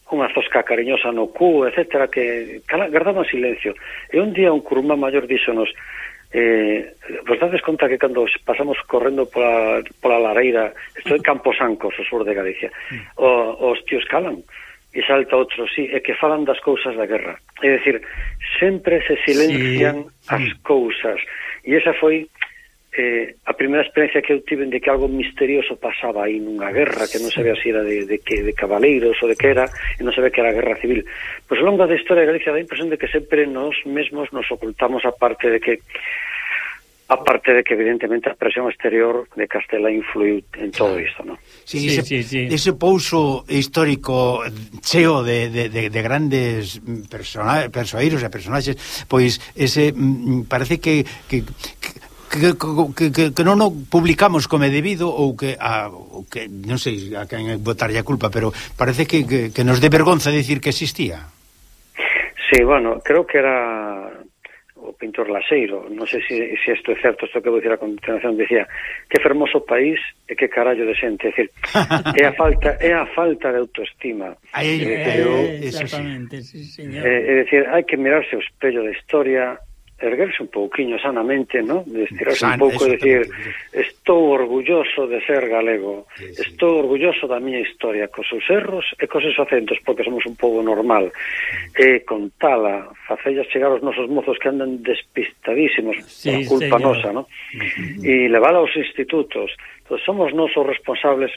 S12: unha zosca cariñosa no cu, etcétera, que guardaban silencio. E un día un curumá maior díxonos, vos dades conta que cando pasamos correndo pola lareira, isto é Camposancos, o sur de Galicia, os tíos calan, e salta outro, sí, e que falan das cousas da guerra. É dicir, sempre se silencian as cousas, e esa foi a primeira experiencia que eu tive de que algo misterioso pasaba aí nunha guerra, que non sabía se era de cabaleiros ou de que era, e non sabía que era a guerra civil. Pois ao longo da historia de Galicia dá a impresión de que sempre nós mesmos nos ocultamos a parte de que evidentemente a presión exterior de Castela influiu en todo isto, non?
S3: Sí. Ese pouso histórico cheo de grandes persoeiros e personaxes, pois ese parece que non o publicamos como é debido, ou que non sei a quen botarlle a culpa, pero parece que nos dé vergonza dicir que existía.
S12: Sí, bueno, creo que era o pintor Laseiro, non sei se isto é certo, isto que vou dicir a continuación, dicía que fermoso país e que carallo de xente, é dicir, é a falta de autoestima.
S2: Exactamente, sí, señor.
S12: É dicir, hai que mirarse o espello da historia, erguerse un pouquiño sanamente, ¿no? Estirarse un pouco e dicir, estou orgulloso de ser galego, estou orgulloso da miña historia, cos seus erros e cos seus acentos, porque somos un pobo normal, e contala, facellas chegar aos nosos mozos que andan despistadísimos por culpa nosa, ¿no? E levala aos institutos. Entón, somos nós os responsables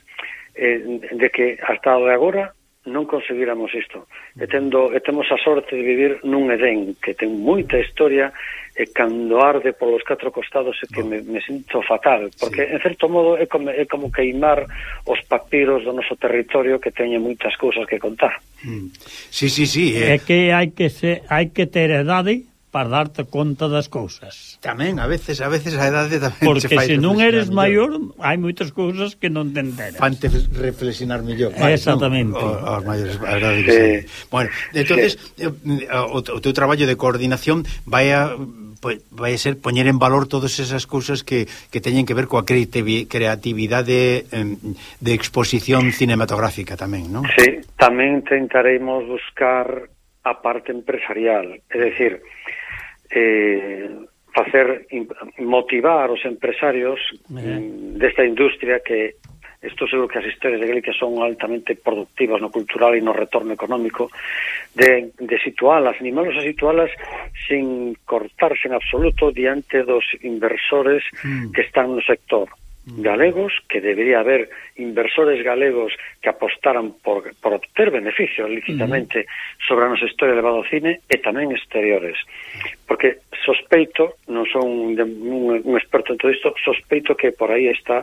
S12: de que hasta o de agora non conseguíramos isto. E temos a sorte de vivir nun Edén que ten moita historia, e cando arde polos 4 costados é que me sinto fatal, porque en certo modo é como queimar os papiros do noso territorio que teñen moitas cousas que contar.
S3: Sí.
S2: É que hai que ter edade para darte conta das cousas.
S3: Tamén, a veces a edade tamén.
S2: Porque se non eres maior, hai moitas cousas que non te enteras.
S3: Fante reflexionar mellor.
S2: Exactamente.
S3: Os maiores, a verdade que bueno, entonces o teu traballo de coordinación vai a ser poñer en valor todas esas cousas que teñen que ver coa creatividade de exposición cinematográfica tamén, non?
S12: Sí, tamén tentaremos buscar a parte empresarial, é dicir, motivar os empresarios desta industria, que estou seguro que as historias de Galicia son altamente productivas no cultural e no retorno económico, de situalas, animalos a situalas sin cortarse en absoluto diante dos inversores que están no sector. galegos, que debería haber inversores galegos que apostaran por obter beneficios lícitamente sobre a nosa historia levado ao cine e tamén exteriores. Porque sospeito, non son un experto en todo isto, sospeito que por aí está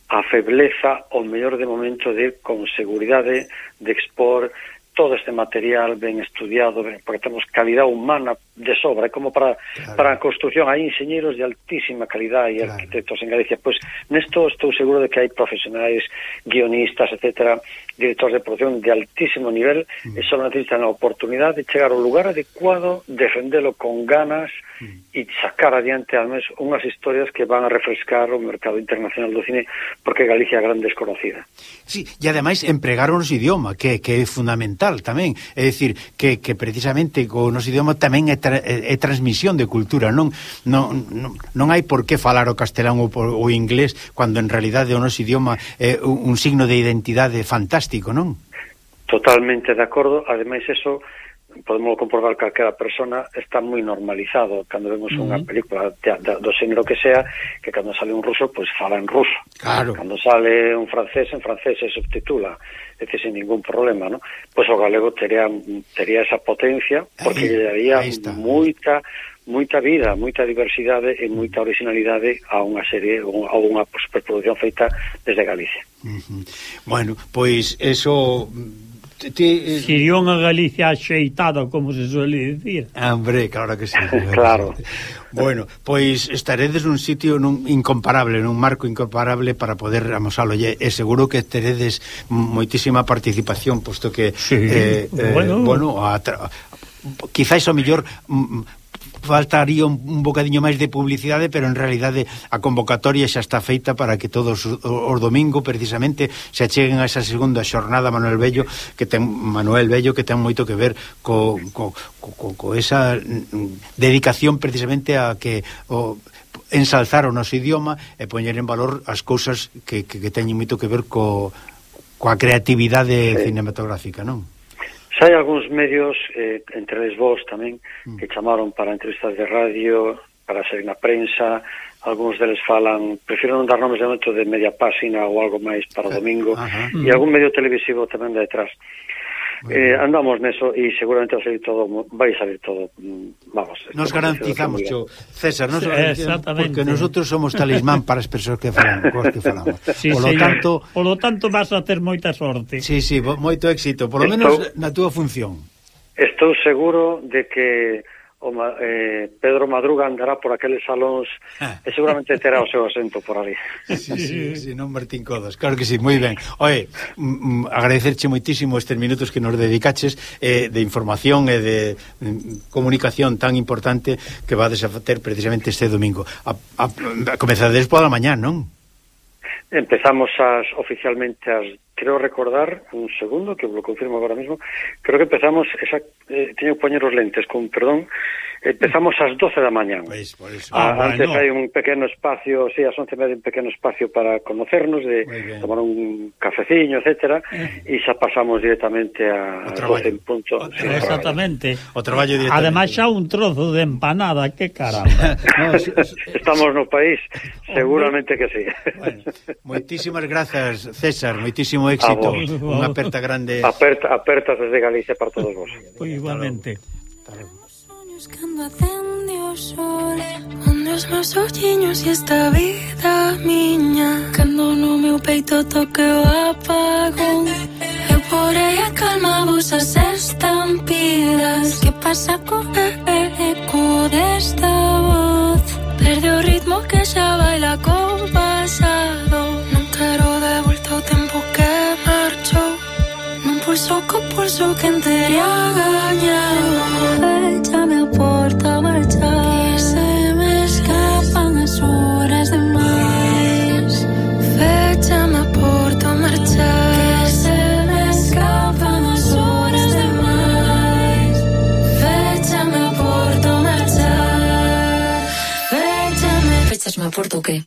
S12: a febleza o mellor de momento de con seguridade de expor todo este material ben estudiado, porque temos calidad humana de sobra, como para a construcción hai enxeñeros de altísima calidad e arquitectos en Galicia. Pois nesto estou seguro de que hai profesionais, guionistas, etcétera, directores de producción de altísimo nivel e só necesitan a oportunidade de chegar ao lugar adecuado, defendelo con ganas e sacar adiante al menos unhas historias que van a refrescar o mercado internacional do cine, porque Galicia é gran desconocida.
S3: Sí, e ademais empregar o noso idioma, que é fundamental tamén, é dicir, que precisamente o noso idioma tamén é transmisión de cultura, non hai por que falar o castelán ou o inglés cando en realidade o noso idioma é un signo de identidade fantástico, non?
S12: Totalmente de acordo, ademais eso podemos comprobar que calquera persona está moi normalizado cando vemos unha película do xénero que sea, que cando sale un ruso, pois fala en ruso.
S3: Claro.
S12: Cando sale un francés, en francés se subtitula, é dicir, sin ningún problema, ¿no? Pois o galego tería esa potencia, porque lle daría moita vida, moita diversidade e moita originalidade a unha serie ou a unha superproducción feita desde Galicia.
S3: Bueno, pois eso...
S2: Sería unha Galicia axeitada, como se suele dicir.
S3: Hombre, claro que sí.
S12: Claro.
S3: Bueno, pois estaredes nun sitio incomparable, nun marco incomparable para poder amosalo, e seguro que teredes moitísima participación, posto que quizás o mellor faltaría un bocadiño máis de publicidade, pero en realidade a convocatoria xa está feita para que todos os domingo precisamente se acheguen a esa segunda xornada Manuel Bello, que ten moito que ver co esa dedicación precisamente a que ensalzar o noso idioma e poñer en valor as cousas que teñen moito que ver coa creatividade cinematográfica, non?
S12: Xa hai algúns medios, entre eles vos tamén, que chamaron para entrevistas de radio, para ser na prensa, algúns deles falan, prefiro non dar nomes de momento, de media página ou algo máis para o domingo, e algún medio televisivo tamén de detrás. Andamos neso e seguramente vai salir todo, vamos.
S3: Nos garantizamos, César, porque nosotros somos talismán para as persoas que falamos.
S2: Sí, polo tanto vas a ter moita sorte.
S3: Sí, moito éxito, por lo menos na túa función.
S12: Estou seguro de que Pedro Madruga andará por aqueles salóns e seguramente terá o seu asento por ali.
S3: Sí, non Martín Codas, claro que sí, moi ben. Oye, agradecerche moitísimo estes minutos que nos dedicaches de información e de comunicación tan importante que vades a ter precisamente este domingo. Comezades pola mañá, non?
S12: Empezamos oficialmente creo recordar, un segundo, que lo confirmo agora mesmo, creo que empezamos, teño que poñer os lentes, con perdón, empezamos ás 12 da mañá. Antes hai un pequeno espacio, ás 11:30 un pequeno espacio para conocernos, de tomar un cafeciño, etcétera, e xa pasamos directamente a 12 en punto.
S2: Exactamente.
S3: O traballo directamente.
S2: Ademais xa un trozo de empanada, que caramba.
S12: Estamos no país, seguramente que sí.
S3: Bueno, moitísimas grazas, César, moitísimo éxito, unha aperta grande.
S12: Apertas desde Galicia para todos vos.
S2: Igualmente.
S1: Buscando ascendió sol, onde os meus olliños e esta vida miña, cando no meu peito toque o apagón, eu porei a calma vosas estampidas. Que pasa co eco desta voz? Perde o ritmo que xa baila co pasado. Non quero de volta o tempo que marchou, non pulso co pulso que entería gañado. Échame a porta a marchar, que se me escapan as horas de máis. Féchame a porta a marchar, que se me escapan as horas de máis. Féchame a porta a marchar. Féchame a porta o qué?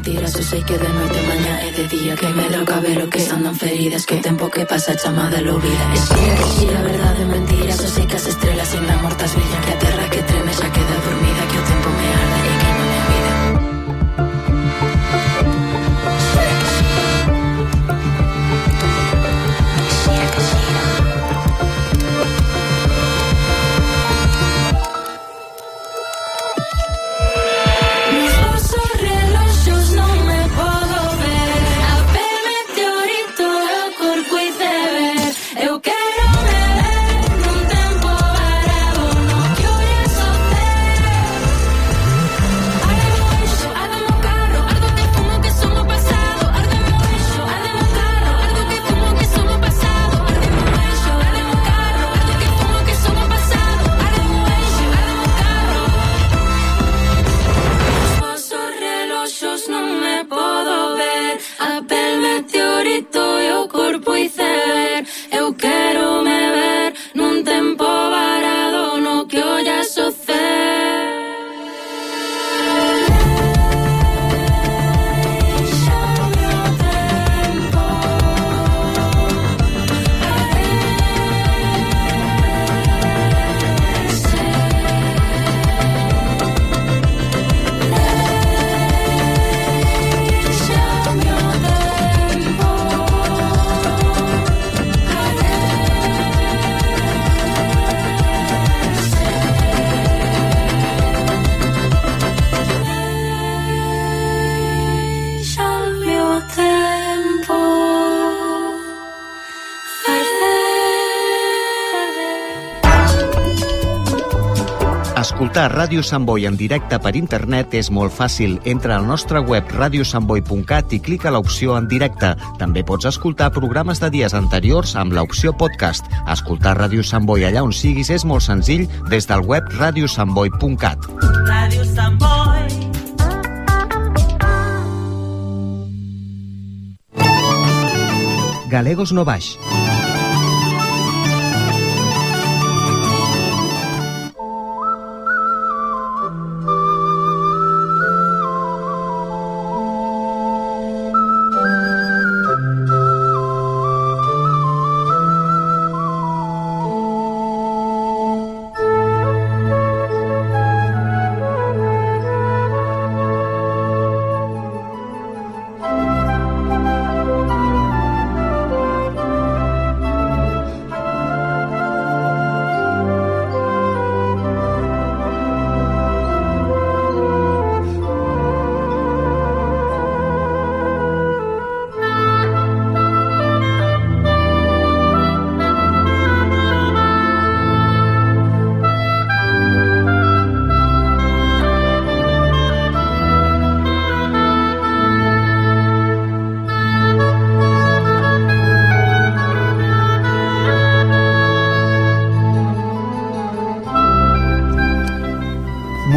S13: mentiras. Eu sei que de noite, mañá e de día, que me droga ver o que andan feridas, que o tempo que pasa chamada lo vida. E xira, verdade, mentiras. Eu sei que as estrelas ainda mortas brillan, que a terra que treme xa queda dormida, que o tempo me arde e que non me vida.
S8: Escoltar Ràdio Sant Boi en directe per internet és molt fàcil. Entra al nostre web radiosantboi.cat i clica l'opció en directe. També pots escoltar programes de dies anteriors amb l'opció podcast. Escoltar Ràdio Sant Boi allà on siguis és molt senzill des del web radiosantboi.cat.
S6: Ràdio Sant Boi.
S8: Galegos no baix.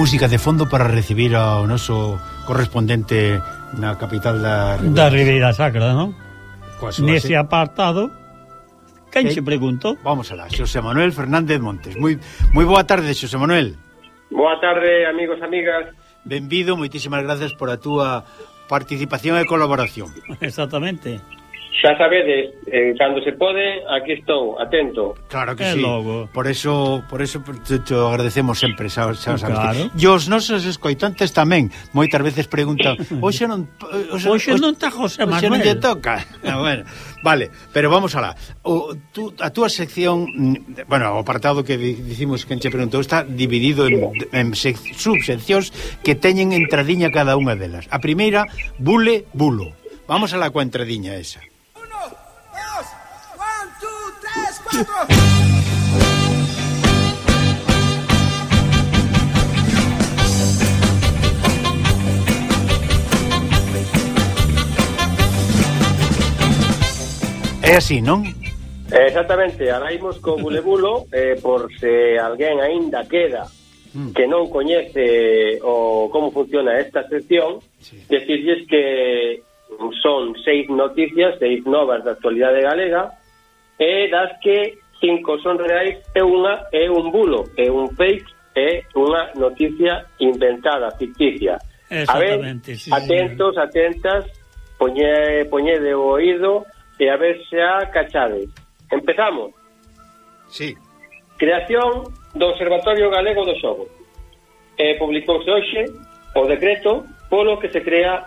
S3: Música de fondo para recibir ao noso correspondente na capital da
S2: Ribeira Sacra, non? Nese apartado, quen se preguntou?
S3: Vamos alá, Xosé Manuel Fernández Montes. Moi boa tarde, Xosé Manuel.
S14: Boa tarde, amigos, amigas.
S3: Benvido, moitísimas gracias por a túa participación e colaboración.
S2: Exactamente.
S14: Xa sabedes, cando se pode, aquí estou, atento.
S3: Claro que sí. Logo. Por eso te agradecemos sempre, sabes.
S2: Claro.
S3: E os nosos escoitantes tamén moitas veces preguntan, hoxe non
S2: está José Manuel.
S3: Hoxe non lle toca. Bueno, vale, pero vamos alá. A túa sección, bueno, o apartado que dicimos que enche preguntou está dividido en subseccións que teñen entradiña cada unha delas. A primeira, bule, bulo. Vamos alá coa entradiña esa. É así, non?
S14: Exactamente, ahora imos co bulebulo, por se alguén aínda queda que non coñece como funciona esta sección, decirles que son 6 noticias, 6 novas da actualidade galega, e das que 5 son reais e unha é un bulo, é un fake, é unha noticia inventada, ficticia.
S2: Exactamente, sí,
S14: atentos, atentas, poñede o oído e a ver se a cachades. Empezamos.
S3: Sí.
S14: Creación do Observatorio Galego do Xogo. Publicouse hoxe o decreto polo que se crea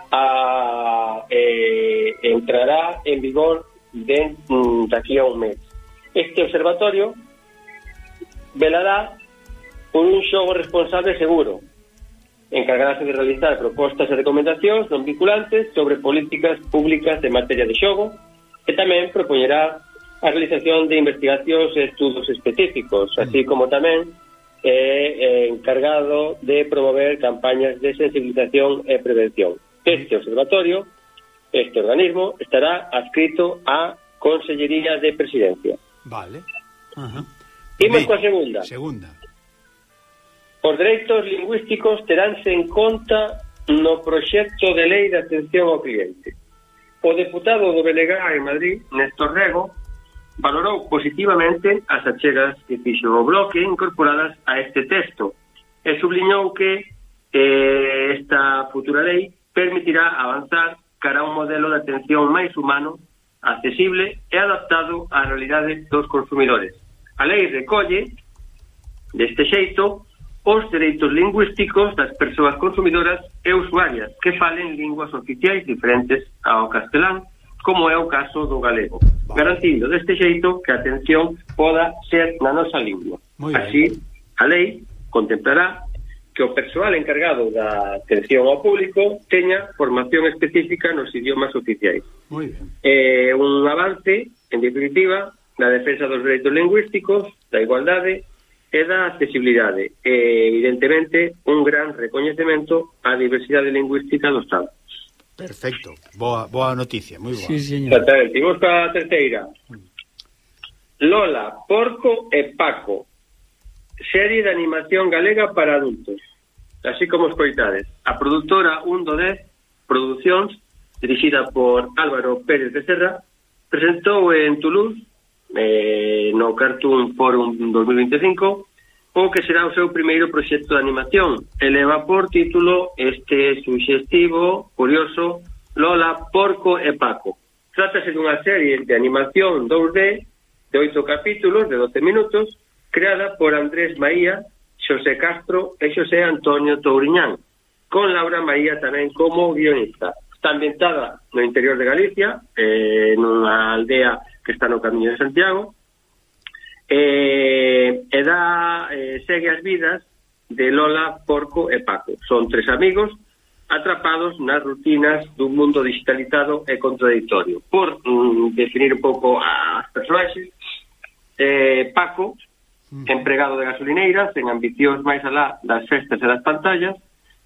S14: entrará en vigor daqui a un mes. Este observatorio velará por un xogo responsable e seguro. Encargarase de realizar propostas e recomendacións non vinculantes sobre políticas públicas de materia de xogo e tamén propoñerá a realización de investigacións e estudos específicos, así como tamén encargado de promover campañas de sensibilización e prevención. Este observatorio, este organismo, estará adscrito á Consellería de Presidencia.
S3: Vale.
S14: Imos coa segunda.
S3: Segunda.
S14: Os dereitos lingüísticos teránse en conta no proxecto de lei de atención ao cliente. O deputado do BNG en Madrid, Néstor Rego, valorou positivamente as achegas que fixo o bloque incorporadas a este texto e subliñou que esta futura lei permitirá avanzar cara a un modelo de atención máis humano, accesible e adaptado á realidade dos consumidores. A lei recolle, deste xeito, os dereitos lingüísticos das persoas consumidoras e usuarias que falen linguas oficiais diferentes ao castelán, como é o caso do galego, garantindo deste xeito que a atención poda ser na nosa lingua. Así, a lei contemplará que o persoal encargado da atención ao público teña formación específica nos idiomas oficiais.
S3: Muy bien.
S14: Un avance, en definitiva, na defensa dos dereitos lingüísticos, da igualdade e da accesibilidade. Evidentemente, un gran recoñecemento á diversidade lingüística do Estado.
S3: Perfecto, boa noticia, moi boa.
S2: Sí, señor.
S14: Exactamente. Imos para a terceira. Lola, Porco e Paco, serie de animación galega para adultos. Así como escoitades. A produtora 1-10 Producións, dirixida por Álvaro Pérez de Serra, presentou en Toulouse, no Cartoon Forum 2025, o que será o seu primeiro proxecto de animación. Eleva por título este suxestivo, curioso, Lola, Porco e Paco. Trátase dunha serie de animación 2D de 8 capítulos de 12 minutos, creada por Andrés Maía, Xosé Castro e Xosé Antonio Touriñán, con Laura Maía tamén como guionista. Está ambientada no interior de Galicia, nunha aldea que está no Camiño de Santiago, segue as vidas de Lola, Porco e Paco. Son 3 amigos atrapados nas rutinas dun mundo digitalizado e contradictorio. Por definir un pouco as personaxes, Paco, empregado de gasolineira, sen ambicións máis alá das festas e das pantallas.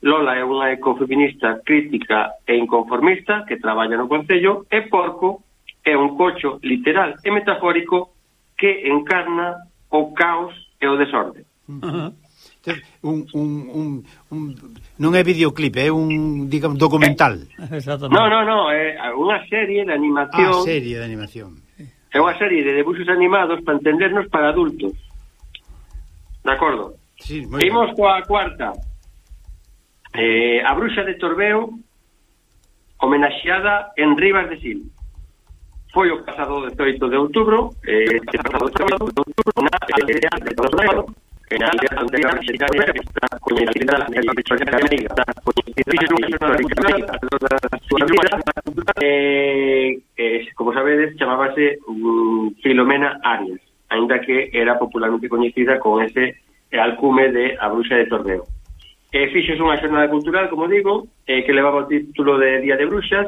S14: Lola é unha ecofeminista crítica e inconformista que traballa no Concello, e Porco é un cocho literal e metafórico que encarna o caos e o desorde.
S3: Non é videoclip, é un, digamos, documental.
S14: No, é unha serie de animación.
S3: Serie de animación.
S14: É unha serie de debuxos animados para entendernos para adultos. De acordo?
S3: Sí, moi
S14: Imos coa cuarta. A Bruxa de Torbeo, homenaxeada en Rivas de Sil. Foi o pasado 18 de outubro, na aldea de Torbeo, na aldea anterior mexicana que está coñecida na historia galega, como sabedes, chamábase Filomena Arias, ainda que era popularmente coñecida con ese alcume de A Bruxa de Torbeo. Fixos unha xornada cultural, como digo, que levaba o título de Día de Bruxas,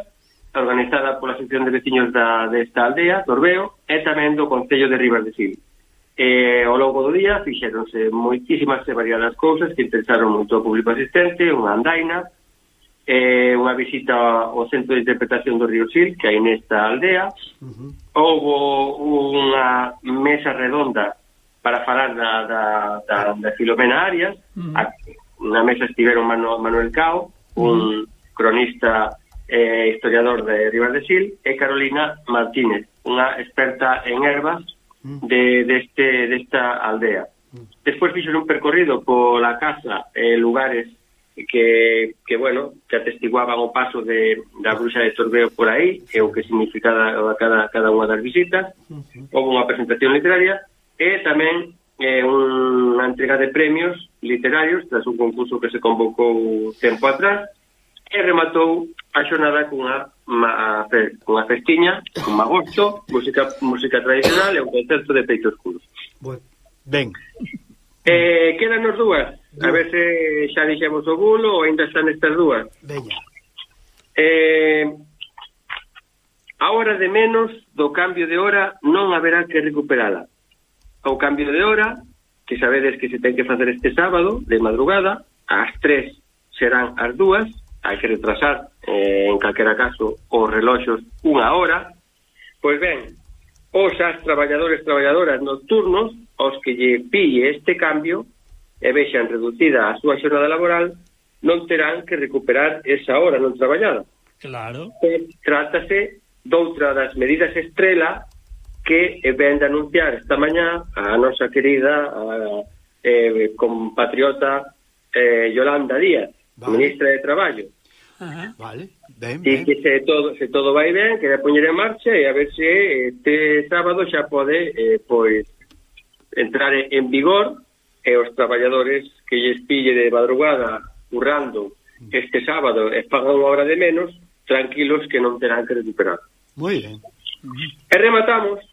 S14: organizada pola Asociación de Veciños desta aldea, Torbeo, e tamén do Concello de Rivas de Sil. Ao longo do día fixeronse moitísimas e variadas cousas que interesaron moito ao público asistente, unha andaina, unha visita ao Centro de Interpretación do Río Sil, que hai nesta aldea. Houbo unha mesa redonda para falar da Filomena Arias. Na mesa estiveron Manuel Cao, un cronista historiador de Rivas de Sil, e Carolina Martínez, unha experta en ervas desta aldea. Despois fixeron un percorrido pola casa e lugares que bueno, que atestiguaban o paso da bruxa de Torbeo por aí, e o que significaba cada unha das visitas. Houve unha presentación literaria e tamén unha entrega de premios literarios tras un concurso que se convocou tempo atrás, e rematou a xornada cunha festiña, un magosto, música tradicional e un concerto de peito escuro.
S3: Ben.
S14: Quedanos dúas, a ver se xa dixemos o bulo ou ainda están estas dúas.
S3: Veña.
S14: A hora de menos do cambio de hora non haberá que recuperala. O cambio de hora, que sabedes que se ten que facer este sábado, de madrugada, ás 3 serán as 2, hai que retrasar, en calquera caso, os reloxos unha hora. Pois ben, os traballadoras nocturnos, os que lle pille este cambio e vexan reducida a súa xornada laboral, non terán que recuperar esa hora non traballada.
S2: Claro.
S14: Trátase doutra das medidas estrela que ven de anunciar esta mañá a nosa querida compatriota Yolanda Díaz, ministra de Traballo.
S3: Vale, ben.
S14: E que se todo vai ben, que vai poñer en marcha e a ver se este sábado xa pode pois entrar en vigor, e os traballadores que lles pille de madrugada currando este sábado e pagan unha hora de menos, tranquilos que non terán que recuperar.
S3: Moi ben.
S14: E rematamos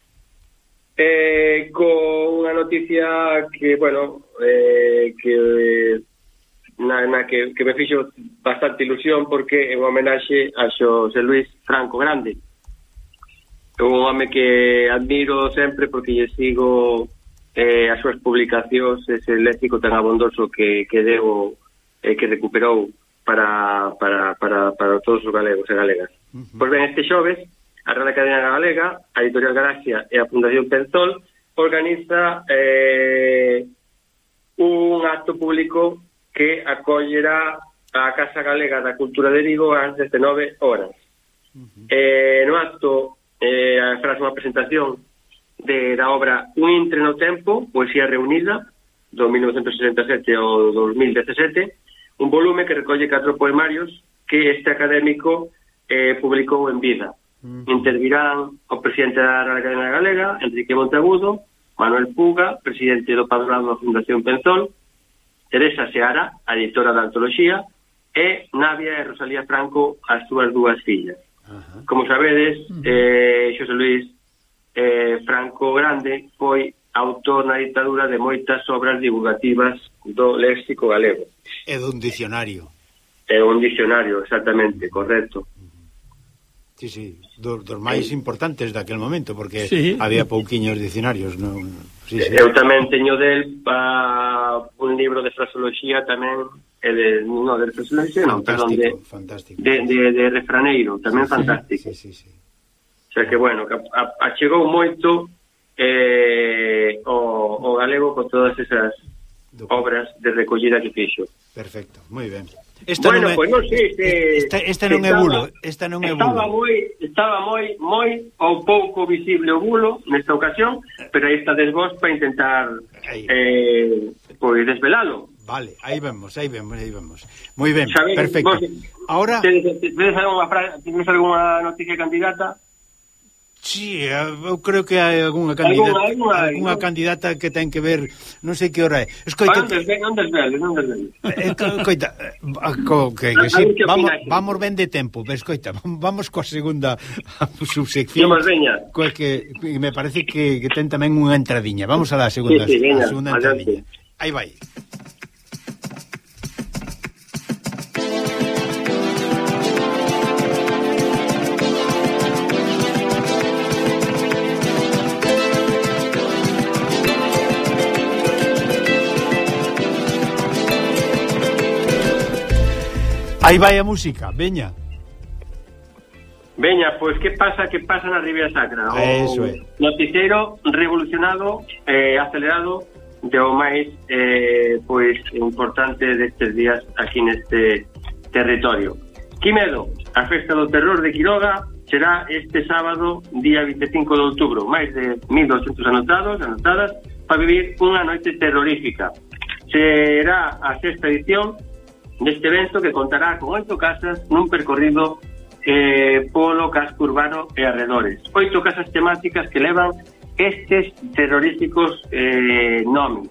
S14: con unha noticia que, bueno, que me fixo bastante ilusión, porque é unha homenaxe a Xosé Luis Franco Grande. É un home que admiro sempre porque lle sigo as súas publicacións, ese léxico tan abondoso que deu que recuperou para todos os galegos e galegas. Pois ben, este xoves a Real Academia Galega, a Editorial Galaxia e a Fundación Penzol organiza un acto público que acollerá a Casa Galega da Cultura de Vigo ás 19 horas. No acto farás unha presentación da obra Un intre no tempo, poesía reunida, do 1967 ao 2017, un volume que recolle 4 poemarios que este académico publicou en vida. Intervirán o presidente da Real Academia Galega, Enrique Monteagudo, Manuel Puga, presidente do Padroado da Fundación Penzol, Teresa Seara, a editora da antoloxía, e Navia e Rosalía Franco, as súas 2 fillas. Como sabedes, Xosé Luis Franco Grande foi autor na ditadura de moitas obras divulgativas do léxico galego.
S3: É dun dicionario.
S14: É un dicionario, exactamente, correcto.
S3: Sí, dos máis importantes daquel momento, porque había pouquiños dicionarios, non? Sí.
S14: Eu tamén teño del un libro de fraseoloxía tamén, de fraseoloxía, non, perdón, de refraneiro, tamén fantástico.
S3: Sí.
S14: O sea que, bueno, achegou moito o galego con todas esas obras de recollida que fixo.
S3: Perfecto, moi ben.
S14: Bueno, pois non sei se...
S3: Esta non é bulo, esta non é bulo.
S14: Estaba moi ou pouco visible o bulo nesta ocasión, pero aí está vos para intentar pois desvelalo.
S3: Vale, aí vemos. Moi ben, perfecto. Ahora...
S14: ¿Tienes alguna noticia candidata?
S3: Sí, eu creo que hai algunha candidata que ten que ver, non sei que hora é. Escoita,
S14: non desveles.
S3: Escoita, que sí, vamos ben de tempo, escoita, vamos coa segunda subsección. Que me parece que ten tamén unha entradiña. Vamos a la segunda entradiña. Aí vai. Aí vai a música, veña.
S14: Veña, pois que pasa na Ribeira Sacra?
S3: Eso é.
S14: Noticiero revolucionado, acelerado, de o máis pois importante destes días aquí neste territorio. Quimedo, a festa do terror de Quiroga será este sábado, día 25 de outubro. Máis de 1.200 anotadas para vivir unha noite terrorífica. Será a 6ª edición neste evento que contará con 8 casas nun percorrido polo casco urbano e arredores. 8 casas temáticas que levan estes terroríficos nomes,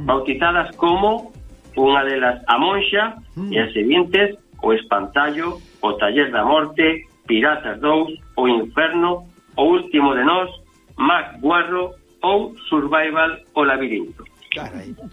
S14: bautizadas como unha delas a Monxa e as seguintes o Espantallo, o Taller da Morte, Piratas 2, o Inferno, o Último de Nós, Mac Guarro ou Survival o Labirinto.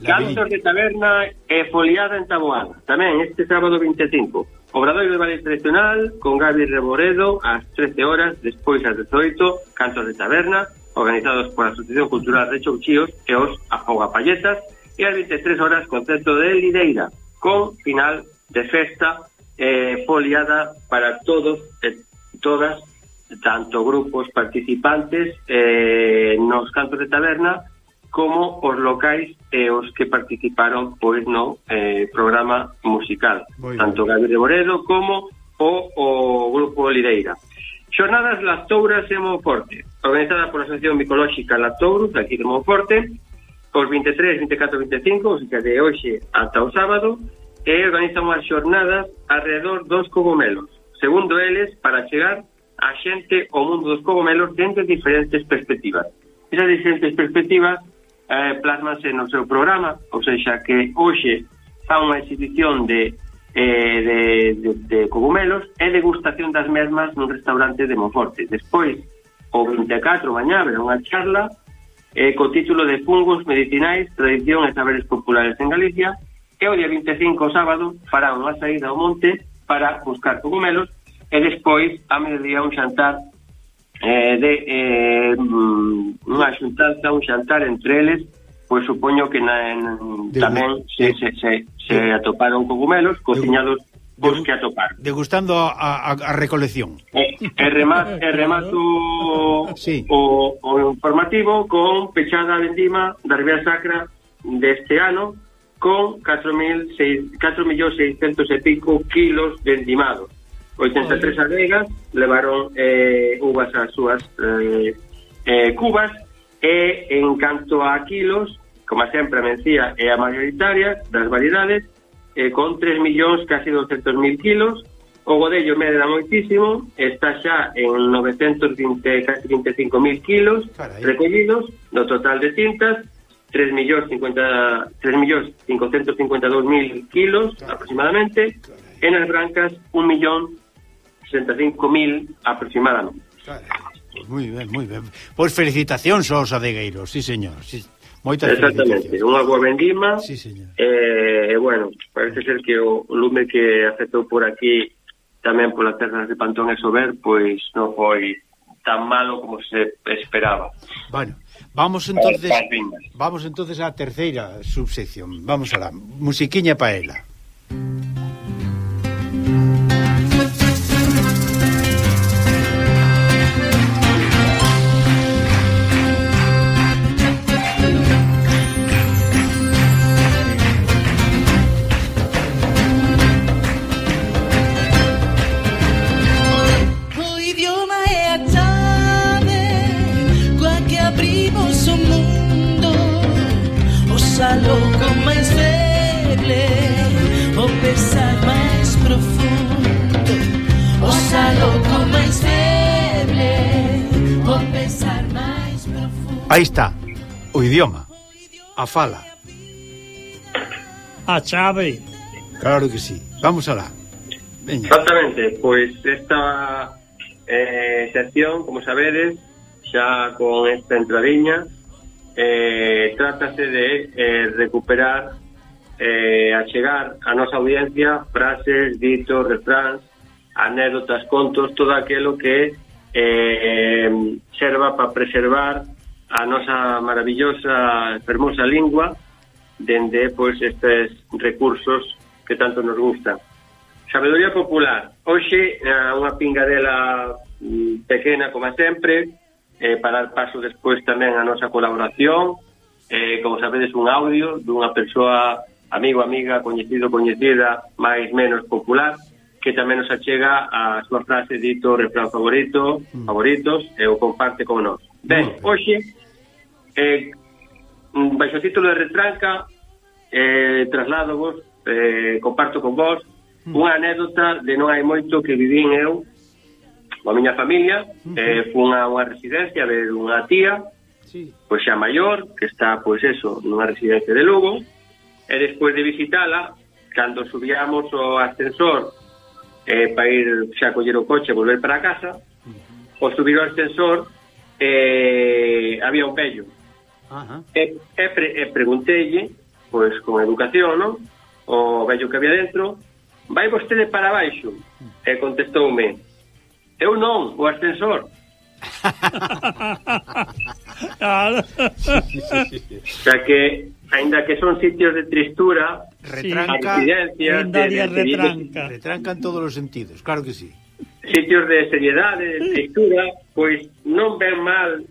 S14: Cantos de taberna e foliada en Taboada. Tamén este sábado 25. Obradoiro de ballet tradicional con Gabi Reboredo ás 13 horas, despois ás 18, cantos de taberna organizados por a Asociación Cultural de Chouchíos e os Afogapalletas, e ás 23 horas concerto de Lideira con final de festa foliada para todos e todas, tanto grupos participantes nos cantos de taberna como os locais e os que participaron pois no programa musical, tanto Gabi de Boredo como o Grupo Lideira. Xornadas Lactouras en Monforte, organizada por a Asociación Micolóxica Lactourus aquí de Monforte, os 23, 24, 25, o sea, de hoxe ata o sábado, e organizan unhas xornadas alrededor dos cogomelos, segundo eles, para chegar a xente ao mundo dos cogomelos dentro de diferentes perspectivas. Esas diferentes perspectivas plasmanse no seu programa, ou seja, que hoxe fa unha exhibición de cogumelos e degustación das mesmas nun restaurante de Monforte. Despois, o 24 mañá, haberá unha charla co título de Fungos medicinais, tradición e saberes populares en Galicia, e o día 25, sábado, fará unha saída ao monte para buscar cogumelos e despois, a mediodía, un xantar unha xuntanza, un xantar entre eles, pois supoño que tamén se atoparon cogumelos cociñados pois que atoparon.
S3: Degustando a recolección.
S14: Remato o informativo con pechada a vendima da Ribeira Sacra deste ano con 4.600 e pico kilos de endimados. 83 adegas levaron uvas ás súas cubas e en canto a kilos, como sempre a mencía é a mayoritaria das variedades, con 3 millóns, casi 200.000 kilos. O godello medra moitísimo, está xa en 920, casi 25.000 kilos recollidos, no total de tintas 3.552.000 kilos aproximadamente, e nas brancas 1.065.000 aproximadamente.
S3: Moi ben, moi ben. Pois felicitacións aos adegueiros, sí, señor. Sí, moitas
S14: exactamente, unha boa vendima.
S3: Sí, señor.
S14: Bueno, parece ser que o lume que afectou por aquí tamén polas terras de Pantón e Sober, pois non foi tan malo como se esperaba.
S3: Bueno, vamos entonces á terceira subsección. Vamos alá, musiquiña pa ela.
S6: Loco máis feble, o pesar máis profundo. Osa loco máis feble, o pesar máis profundo.
S3: Aí está, o idioma, a fala,
S2: a chave.
S3: Claro que sí, vamos alá. Veña.
S14: Exactamente, pois esta sección, como sabedes, xa con esta entradiña, trátase de recuperar, achegar a nosa audiencia frases, ditos, refráns, anécdotas, contos, todo aquilo que serva para preservar a nosa maravillosa, fermosa lingua dende pois estes recursos que tanto nos gustan. Sabedoría popular. Hoxe unha pingadela pequena como sempre, para dar paso despois tamén a nosa colaboración, como sabedes, un audio dunha persoa, amigo, amiga, coñecido, coñecida, máis menos popular, que tamén nos achega a súa frase, dito, refrán favoritos, e o comparte con nós. Ben, hoxe, baixo título de retranca, trasládovos comparto con vos unha anécdota de non hai moito que vivín eu a miña familia. Fun a unha residencia a ver unha tía, pois xa maior, que está, pois eso, nunha residencia de Lugo, e despois de visitala, cando subíamos o ascensor para ir xa a coller o coche e volver para a casa, o subir o ascensor había un vello. E pregunteille, pois con educación, non? O vello que había dentro: vai vostede para baixo? E contestoume: eu non, o ascensor.
S2: Claro.
S14: O sea que, ainda que son sitios de tristura, residencias,
S3: retrancan todos os sentidos, claro que sí.
S14: Sitios de seriedade, de tristura, pois non ven mal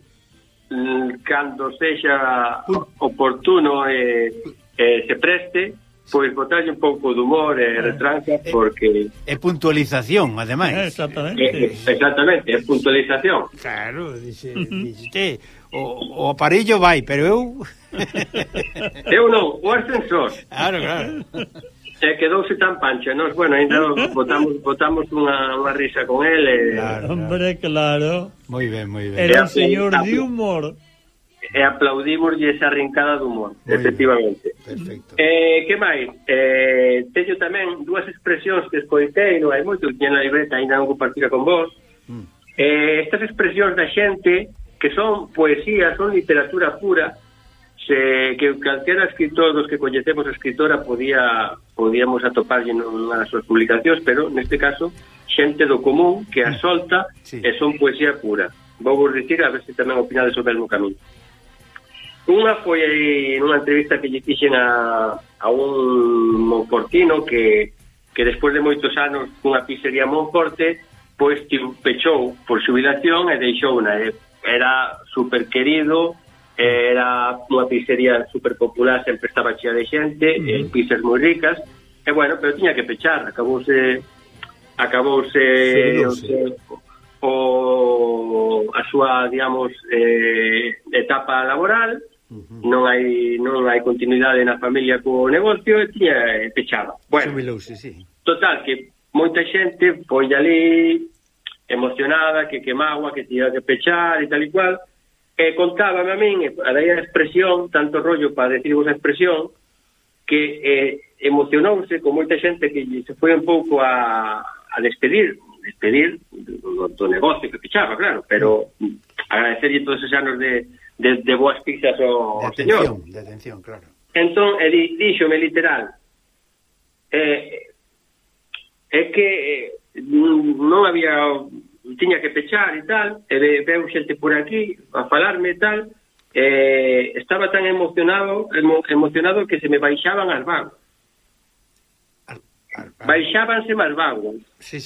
S14: cando sexa oportuno e se preste, pois botarlle un pouco de humor e retranca, porque...
S3: É puntualización, ademais.
S14: Exactamente, é puntualización.
S3: Claro, dixete, o aparello vai, pero eu...
S14: Eu non, o ascensor.
S3: Claro.
S14: Quedouse tan pancha, nós, bueno, ainda botamos unha risa con ele.
S2: Hombre, claro.
S3: Moi ben.
S2: Era un señor de humor.
S14: E aplaudimoslle esa rincada de humor, efectivamente.
S3: Perfecto.
S14: Que máis? Teño tamén dúas expresións que escoitei, non hai moito, que na libreta ainda non compartira con vos. Estas expresións da xente que son poesía, son literatura pura, que calquera escritor dos que coñecemos a escritora podíamos atoparlle nunha das súas publicacións, pero neste caso xente do común que a solta e son poesía pura. Vou vos dicir a ver se tamén opinades sobre o mesmo camiño. Unha foi nunha entrevista que lle fixen a un monfortino que despois de moitos anos cunha pizzería Monforte, pois pechou por xubilación e deixou unha. Era super querido, era unha pizzería super popular, sempre estaba chea de xente, pizzas moi ricas, e bueno, pero tiña que pechar, acabouse a súa, digamos, etapa laboral, non hai continuidade na familia co negocio e tiña pechada. Bueno, total, que moita xente foi ali emocionada, que quemaba, que tiña que pechar e tal e cual. Contábame a min, a daí a expresión, tanto rollo para decirvos a expresión, que emocionouse con moita xente que se foi un pouco a despedir do negocio que pechaba, claro, pero agradecerlle todos esos anos de boas pizzas ao señor.
S3: De atención, claro.
S14: Entón, díxome literal, é que non había... tiña que pechar e tal, e veu xente por aquí a falarme e tal, estaba tan emocionado que se me baixaban as vagas. Baixábanse as vagas.
S3: Sí,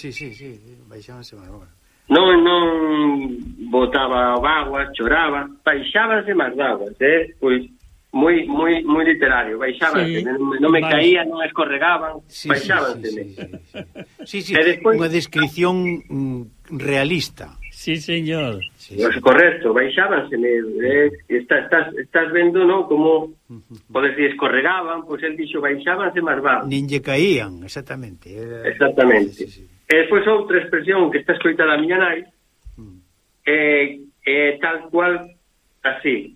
S3: baixábanse as vagas.
S14: Non botaba vagas, choraba, baixábanse as vagas, pois moi literario, baixábanse, non me caía, non escorregaban, baixábanse.
S3: Sí, unha descripción realista.
S2: Sí, señor.
S14: Correcto, baixábanse, estás vendo, non, como podes decir, escorregaban, pois el dixo baixábanse as vagas.
S3: Nin lle caían, exactamente.
S14: Exactamente. E despois outra expresión que está escoitada a miña nai, tal cual así: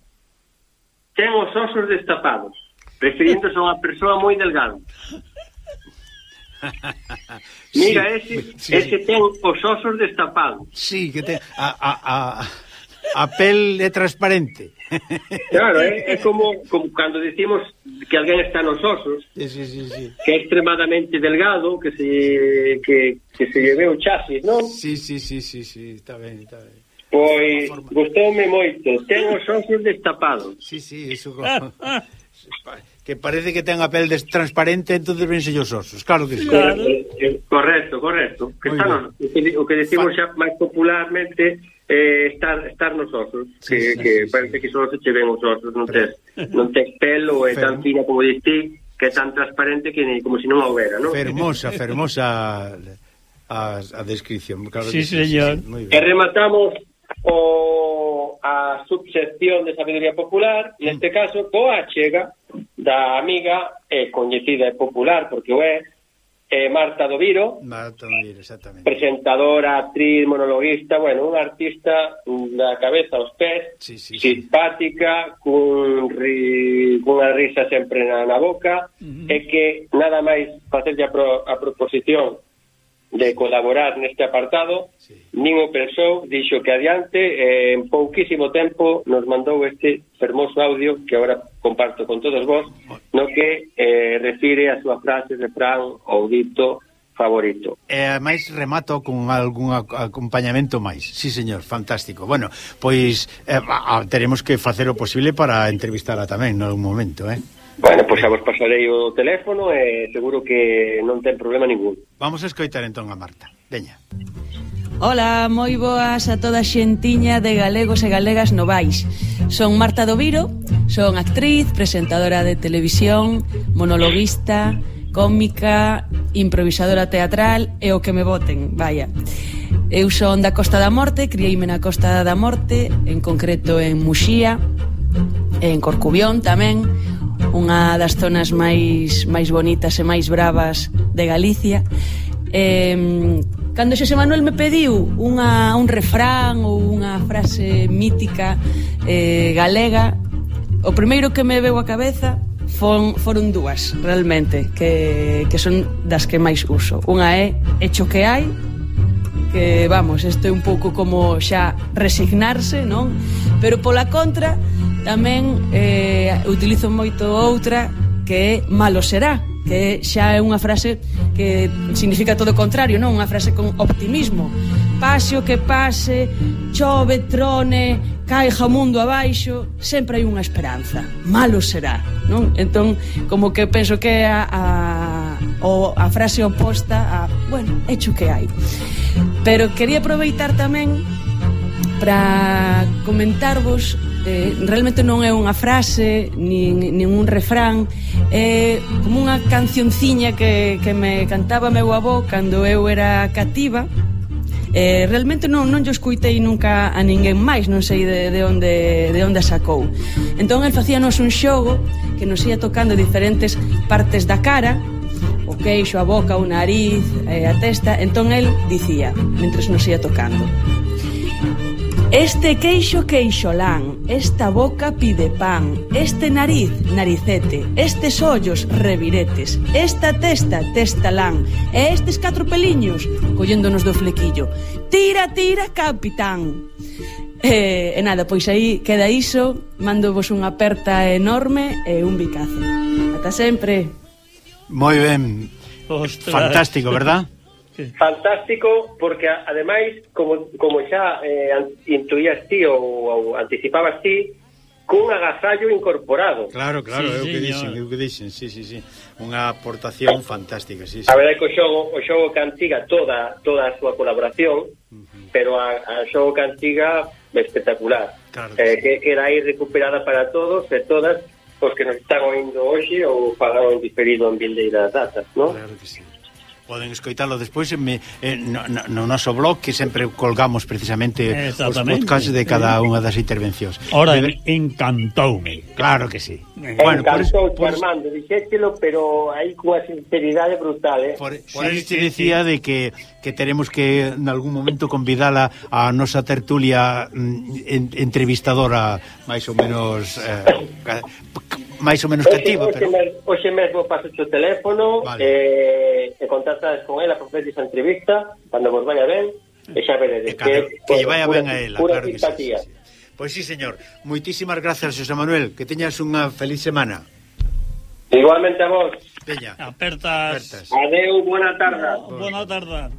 S14: ten os osos destapados, referiéndose a unha persoa moi delgada. Mira, ese ten os osos destapados.
S3: Sí, que ten a pel é transparente.
S14: Claro, é como cando decimos que alguén está nos osos, que é extremadamente delgado, que se lleve o chasis, non?
S3: Sí, está ben.
S14: Pois gustoume moito, ten os osos destapados.
S3: Sí, iso que parece que ten a pel transparente, entonces vense os osos, claro que sí.
S14: Correcto. Que o que decimos xa máis popularmente estar nos osos, que parece que só se che ven os osos, non tes pelo, é tan fina como diste, que é tan transparente que como se non houbera, non?
S3: Fermosa a descripción, claro.
S2: Sí, señor.
S14: E rematamos a subsección de sabiduría popular, neste caso coa achega da amiga coñecida e popular, porque o é Marta do Viro,
S3: exactamente.
S14: Presentadora, actriz, monologuista, bueno, unha artista da cabeza aos pés, simpática, cunha risa sempre na boca, e que nada máis facerlle a proposición de colaborar neste apartado, nin o pensou, dixo que adiante, en pouquísimo tempo nos mandou este fermoso audio que agora comparto con todos vos, no que refire a súa frase, refrán ou dito favorito.
S3: Máis remato con algún acompañamento máis. Sí, señor, fantástico. Bueno, pois teremos que facer o posible para entrevistala tamén en algún momento,
S14: Bueno, pois xa vos pasarei o teléfono e seguro que non ten problema ningún.
S3: Vamos a escoitar entón a Marta. Veña.
S15: Ola, moi boas a toda a xentiña de galegos e galegas novais. Son Marta do Viro, son actriz, presentadora de televisión, monologuista, cómica, improvisadora teatral e o que me boten, vaya. Eu son da Costa da Morte, crieime na Costa da Morte, en concreto en Muxía, en Corcubión tamén, unha das zonas máis bonitas e máis bravas de Galicia. Cando Xosé Manuel me pediu un refrán ou unha frase mítica galega, o primeiro que me veu a cabeza foron dúas, realmente, que son das que máis uso. Unha é hecho que hai, que, vamos, isto é un pouco como xa resignarse, non? Pero pola contra tamén utilizo moito outra que é malo será, que xa é unha frase que significa todo o contrario, non? Unha frase con optimismo. Pase o que pase, chove, trone, caixa o mundo abaixo, sempre hai unha esperanza. Malo será, non? Entón, como que penso que é a frase oposta a, bueno, hecho que hai. Pero quería aproveitar tamén para comentarvos, realmente non é unha frase nin un refrán, é como unha cancionciña que me cantaba meu avó cando eu era cativa. Realmente non yo escuitei nunca a ninguén máis, non sei de onde a sacou. Entón el facíanos un xogo que nos ia tocando diferentes partes da cara, o queixo, a boca, o nariz, a testa. Entón el dicía, mentres nos ia tocando: este queixo queixolán, esta boca pide pan, este nariz naricete, estes ollos reviretes, esta testa testalán, e estes 4 peliños colléndonos do flequillo. Tira, tira, capitán. E nada, pois aí queda iso. Mándovos unha aperta enorme e un bicazo. Ata sempre.
S3: Moi ben. Ostras. Fantástico, verdad?
S14: Fantástico, porque ademais, como xa intuías ti ou anticipabas ti, cun agasallo incorporado.
S3: Claro, é o que dixen, sí. Unha aportación fantástica, sí.
S14: A verdade que o xogo Cantiga toda a súa colaboración, pero a xogo Cantiga espectacular. Claro que queda aí recuperada para todos e todas os que nos están oindo hoxe ou pagaron diferido en vindeiras datas, non?
S3: Claro que sí. Poden escoitalo despois no noso blog, que sempre colgamos precisamente os podcasts de cada unha das intervencións.
S2: Ora, encantoume.
S3: Claro que sí.
S14: Bueno, encantou, Armando, dixételo, pero aí cunha sinceridade brutal,
S3: Por eso te decía de que teremos que en algún momento convidala a nosa tertulia entrevistadora máis ou menos cativa, pero
S14: hoxe mesmo paso o teléfono, vale. E contactas con ela para facer esa entrevista cando vos vaya ben, e xa veredes
S3: que lle vaya ben a ela, claro que sí. Pois sí, señor. Moitísimas grazas, Xosé Manuel, que teñas unha feliz semana.
S14: Igualmente a vos.
S3: Veña.
S2: Apertas.
S14: Adeu, buena tarde.
S2: Buena tarde.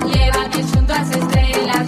S1: Llévame junto a las estrellas,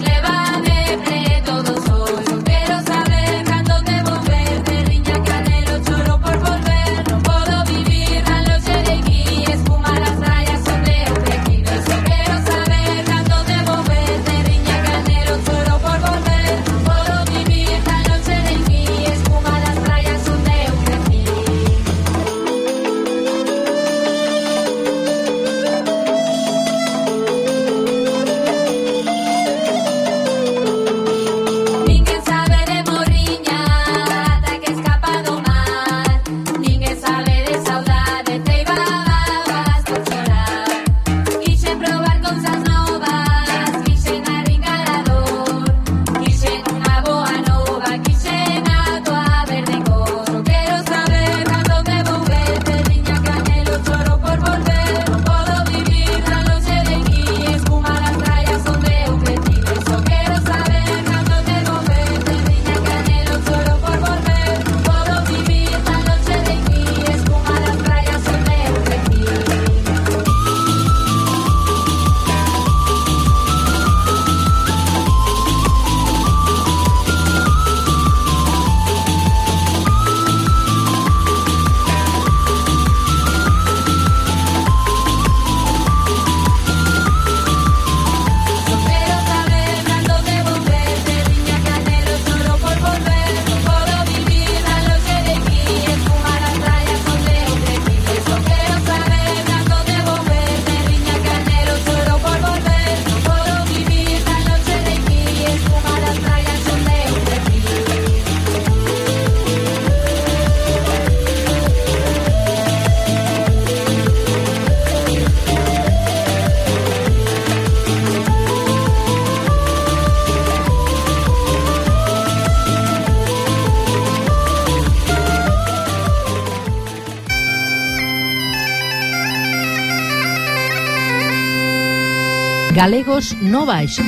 S9: Galegos no baixo.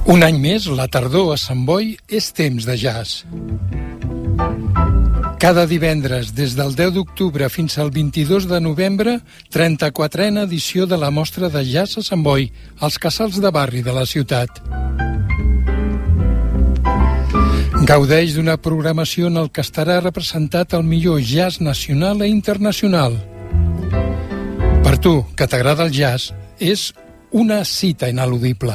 S16: Un any més, la tardor a Sant Boi és temps de jazz. Cada divendres, des del 10 d'octubre fins al 22 de novembre, 34a edició de la Mostra de Jazz a Sant Boi, als casals de barri de la ciutat. Gaudeix d'una programació en el que estarà representat el millor jazz nacional i internacional. Per tu, que t'agrada el jazz, és una cita ineludible.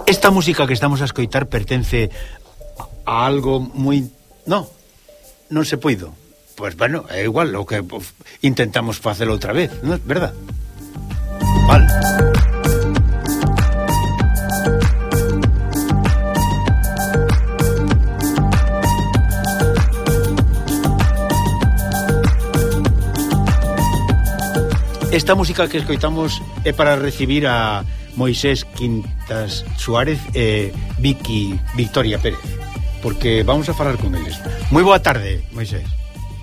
S3: Esta música que estamos a escoitar pertence a algo moi... non se puido. Pois, bueno, é igual o que intentamos facelo outra vez, non é verdad? Vale. Esta música que escoitamos é para recibir a Moisés Quintas Suárez e Victoria Pérez, porque vamos a falar con eles. Moi boa tarde, Moisés.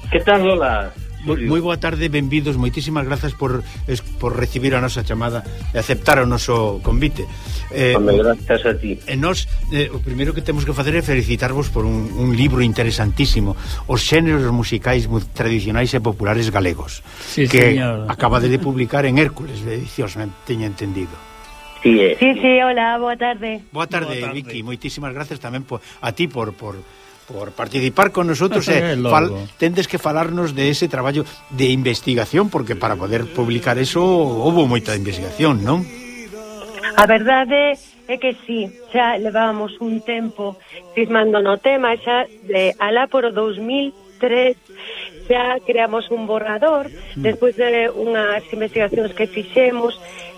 S17: Que tal, Lola?
S3: Moi boa tarde, benvidos, moitísimas grazas por recibir a nosa chamada e aceptar o noso convite.
S17: Grazas a ti.
S3: E nós, o primeiro que temos que facer é felicitarvos por un libro interesantísimo, Os xéneros musicais tradicionais e populares galegos,
S2: sí,
S3: que
S2: señor.
S3: acaba de publicar en Hércules de Edicións, me teño entendido.
S17: Sí,
S18: hola, boa tarde.
S3: Boa tarde, Vicky, moitísimas gracias tamén a ti por participar con nosotros tendes que falarnos de ese traballo de investigación, porque para poder publicar eso houve moita investigación, non?
S18: A verdade é que sí, xa levábamos un tempo cismando no tema, xa alá por o 2003 xa creamos un borrador despois de unhas investigacións que fixemos,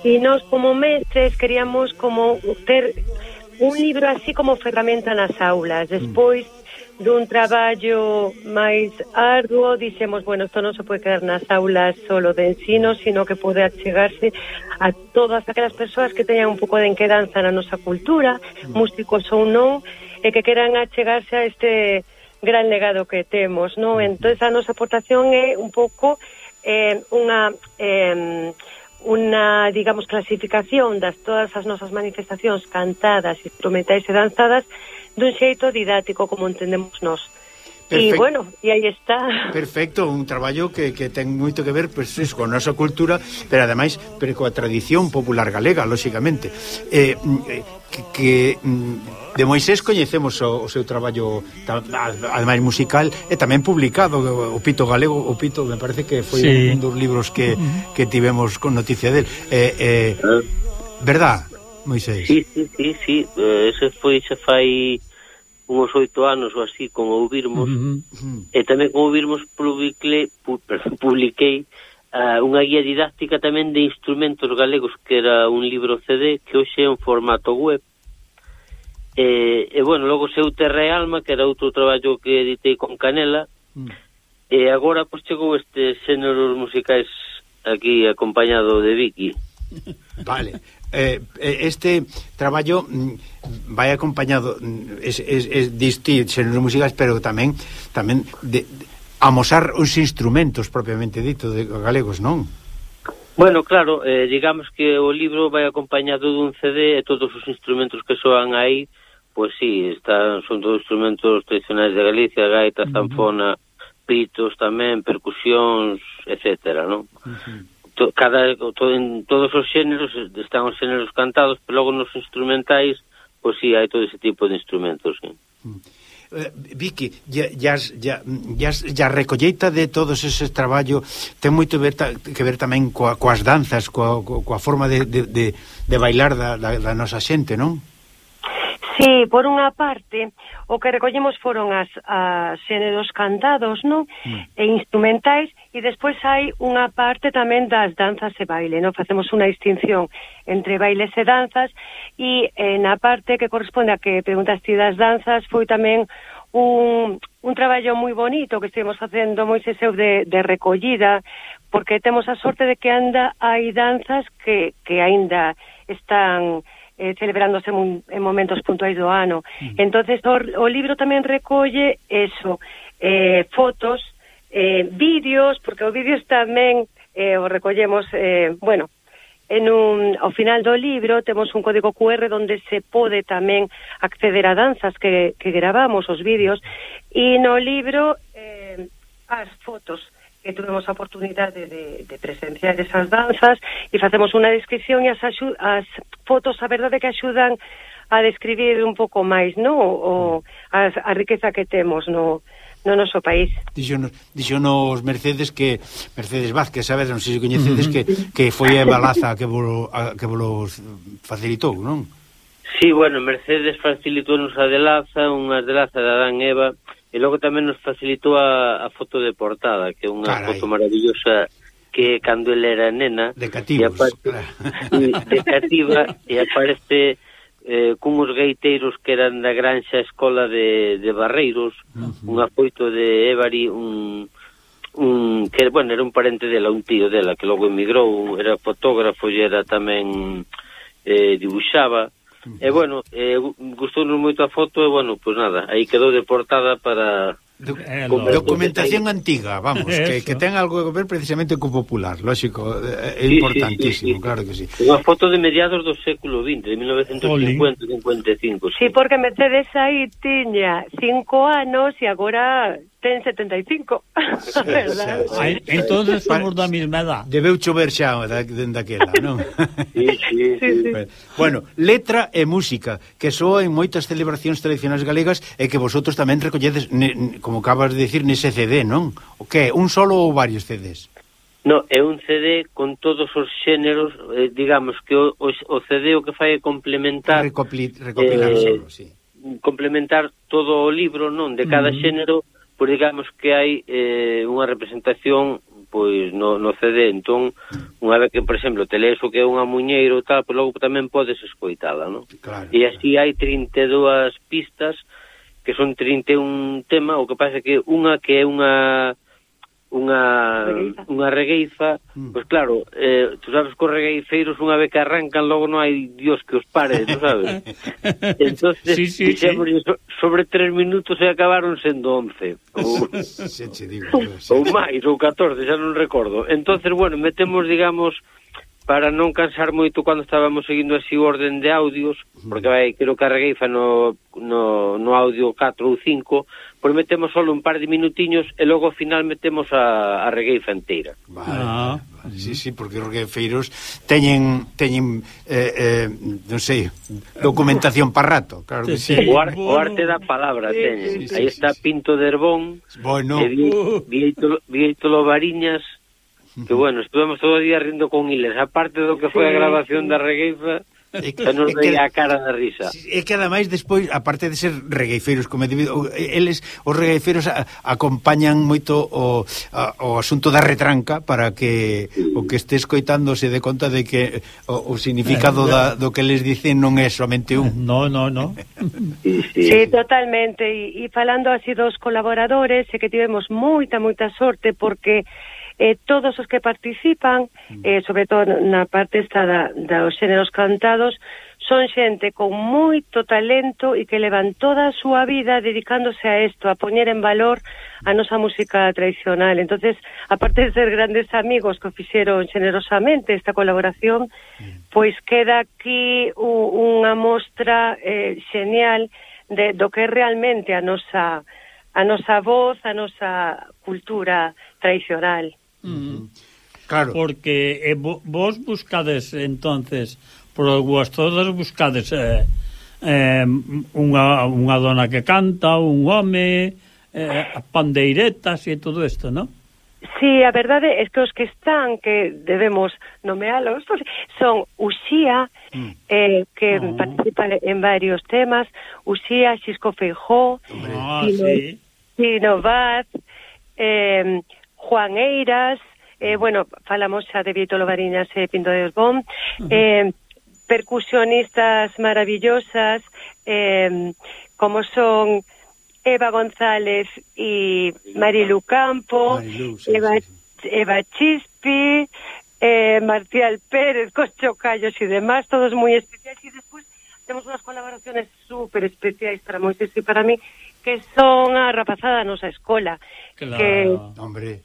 S18: e nós como mestres queríamos como ter un libro así como ferramenta nas aulas. Despois dun traballo máis arduo dixemos, bueno, isto non se pode quedar nas aulas solo de ensino, sino que pode achegarse a todas aquelas persoas que teñan un pouco de enquedanza na nosa cultura, músicos ou non, e que queran achegarse a este gran legado que temos, non? Entón, a nosa aportación é un pouco unha, digamos, clasificación das todas as nosas manifestacións cantadas, instrumentais e danzadas dun xeito didáctico como entendemos nós. E, bueno, e aí está.
S3: Perfecto, un traballo que ten moito que ver pues, con a nosa cultura, pero ademais coa tradición popular galega, lóxicamente. De Moisés coñecemos o seu traballo ademais musical e tamén publicado, o Pito Galego, o Pito me parece que foi un dos libros que tivemos con noticia del. Verdad, Moisés?
S17: Sí, ese foi xa fai uns 8 anos ou así, con Ouvirmos, e tamén con Ouvirmos publiquei unha guía didáctica tamén de instrumentos galegos, que era un libro CD que hoxe é en formato web, E bueno, logo seu Terra e Alma, que era outro traballo que editei con Canela, e agora pois chegou estes xéneros musicais aquí acompañado de Vicky.
S3: Vale. Este traballo vai acompañado distintos xéneros musicais, pero tamén de amosar os instrumentos propiamente dito de galegos, non?
S17: Bueno, claro, digamos que o libro vai acompañado dun CD e todos os instrumentos que soan aí, pois sí, son todos instrumentos tradicionais de Galicia, gaita, zanfona, pitos tamén, percusións, etcétera, non? En todos os xéneros están os xéneros cantados, pero logo nos instrumentais, pois sí, hai todo ese tipo de instrumentos, sí.
S3: Vicky, a recolleita de todos eses traballos ten moito que ver tamén coas danzas, coa forma de bailar da nosa xente, non?
S18: Sí, por unha parte, o que recollemos foron as xéneros cantados, non? E instrumentais, e despois hai unha parte tamén das danzas e baile, non? Facemos unha distinción entre bailes e danzas, e na parte que corresponde a que preguntaste das danzas, foi tamén un traballo moi bonito que estivemos facendo Moisés eu de recollida, porque temos a sorte de que hai danzas que aínda están celebrándose en momentos puntuais do ano. Entonces o libro tamén recolle eso, fotos, vídeos, porque os vídeos tamén o recollemos, bueno, ao final do libro temos un código QR donde se pode tamén acceder a danzas que gravamos, os vídeos, e no libro as fotos que tuvemos a oportunidade de presenciar esas danzas, e facemos unha descripción, e as fotos, a verdade, que axudan a describir un pouco máis, no, a riqueza que temos no noso país.
S3: Dixonos Mercedes Vázquez, sabes, non sei se coñecedes, que foi a Balaza que vos facilitou, non?
S17: Sí, bueno, Mercedes facilitou-nos a delaza, unha delaza de Adán e Eva, e logo tamén nos facilitou a foto de portada, que é unha foto maravillosa, que cando ele era nena
S3: de cativos,
S17: de cativa, e aparece cunhos gaiteiros que eran da granxa escola de Barreiros, un apoito de Évari, que, bueno, era un parente dela, un tío dela, que logo emigrou, era fotógrafo e era tamén dibuixaba. E, bueno, gustounos moito a foto e, bueno, pues nada, aí quedou de portada para...
S3: Documentación antiga, vamos, que ten algo que ver precisamente co popular, lógico, é importantísimo, claro que sí.
S17: Unha foto de mediados do século XX, de 1950-55.
S18: Sí, porque Mercedes aí tiña 5 anos e agora ten 75, verdad?
S2: Entonces somos da mesma edad.
S3: Debeu chover xa dende aquela, non?
S17: Sí.
S3: Bueno, letra e música, que soa en moitas celebracións tradicionais galegas e que vosotros tamén recolledes, como acabas de decir, nese CD, non? O que? Un solo ou varios CDs?
S17: No, é un CD con todos os xéneros, digamos que o CD o que fai é complementar...
S3: Recopilar solo, sí.
S17: Complementar todo o libro, non? De cada xénero, pois digamos que hai unha representación pois no CD, entón unha vez que, por exemplo, te lees o que é unha muñeiro tal, pois logo tamén podes escoitala, non?
S3: Claro.
S17: E así hai 32 pistas que son 31 tema, o que pasa que unha que é unha regueifa, pois claro, tú sabes que os regueifeiros unha vez que arrancan logo non hai Dios que os pare, tú sabes? Entonces, dixémoslle sobre 3 minutos e acabaron sendo 11 ou máis, ou 14, xa non recordo. Entonces, bueno, metemos, digamos, para non cansar moito cando estábamos seguindo así o orden de audios, porque vai, creo que a regueifa no audio 4 ou 5, pois metemos solo un par de minutiños e logo ao final metemos a regueifa inteira.
S3: Vale. Sí, porque os regueifeiros teñen non sei, documentación para rato, claro que sí.
S17: O arte da palabra teñen. Aí está Pinto de Herbón, Vieito Variñas, que, bueno, estuvemos todo o día rindo con iles, aparte do que foi a grabación da regueifa. Que nos veía a cara da risa.
S3: É que ademais despois, aparte de ser regueifeiros como debido, eles, os regueifeiros acompañan moito o asunto da retranca para que o que este escoitando se dé conta de que o significado do que les dicen non é somente un.
S2: No.
S18: Sí, totalmente. E falando así dos colaboradores, é que tivemos moita sorte porque todos os que participan, sobre todo na parte esta dos xéneros cantados, son xente con moito talento e que levan toda a súa vida dedicándose a isto, a poñer en valor a nosa música tradicional. Entonces, aparte de ser grandes amigos que o fixeron xenerosamente esta colaboración, pois queda aquí unha mostra xenial do que é realmente a nosa voz, a nosa cultura tradicional.
S2: Claro. Porque vos buscades entonces todas buscades unha dona que canta, un home, pandeiretas e todo isto, non?
S18: Sí, a verdade é que os que están, que debemos nomealos, son Uxía, que participa en varios temas, Uxía, Xisco Feijó, Tino Vaz, Juan Eiras, falamos xa de Vieito Lovariñas e Pinto de Osbón, percusionistas maravillosas, como son Eva González e Marilu Campo, Eva Chispi, Marcial Pérez, cos chocallos e demás, todos moi especiais. E despois temos unhas colaboraciones super especiais para Moisés e para mí, que son a rapazada da nosa escola.
S3: Claro, hombre.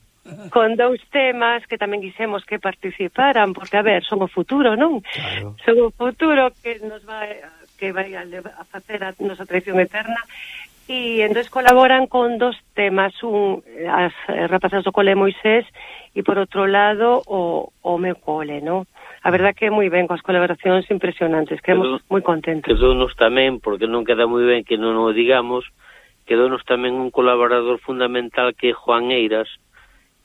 S18: Con 2 temas que tamén quisemos que participaran, porque, a ver, son o futuro, non? Claro. Son o futuro que nos vai a facer a nosa tradición eterna. E entón colaboran con 2 temas, as rapazas do cole Moisés e por outro lado o meu cole, non? A verdad que moi ben, coas colaboracións impresionantes, quedamos moi contentos.
S17: Quedounos tamén, porque non queda moi ben que non o digamos, quedounos tamén un colaborador fundamental que é Juan Eiras,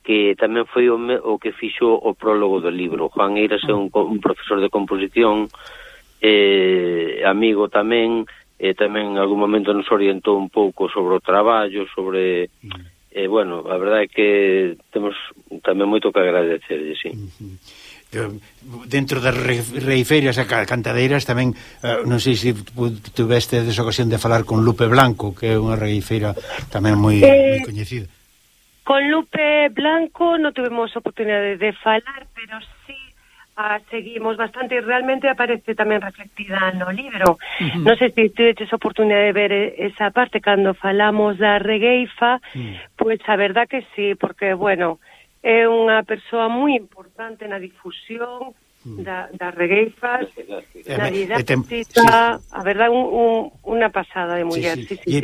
S17: que tamén foi o que fixo o prólogo do libro. Juan Eiras é un profesor de composición, amigo tamén, tamén en algún momento nos orientou un pouco sobre o traballo, sobre... a verdade é que temos tamén moito que agradecerlle, sí.
S3: Dentro das reifeiras e cantadeiras tamén, non sei se tuveste esa ocasión de falar con Lupe Blanco, que é unha reifeira tamén moi coñecida.
S18: Con Lupe Blanco non tuvemos oportunidade de falar, pero sí seguimos bastante e realmente aparece tamén reflectida no libro. Non sei se tuveches oportunidade de ver esa parte cando falamos da regueifa, pois a verdad que sí, porque, é unha persoa moi importante na difusión das regueifas, na didáctica, a verdade, unha pasada de muller. Sí.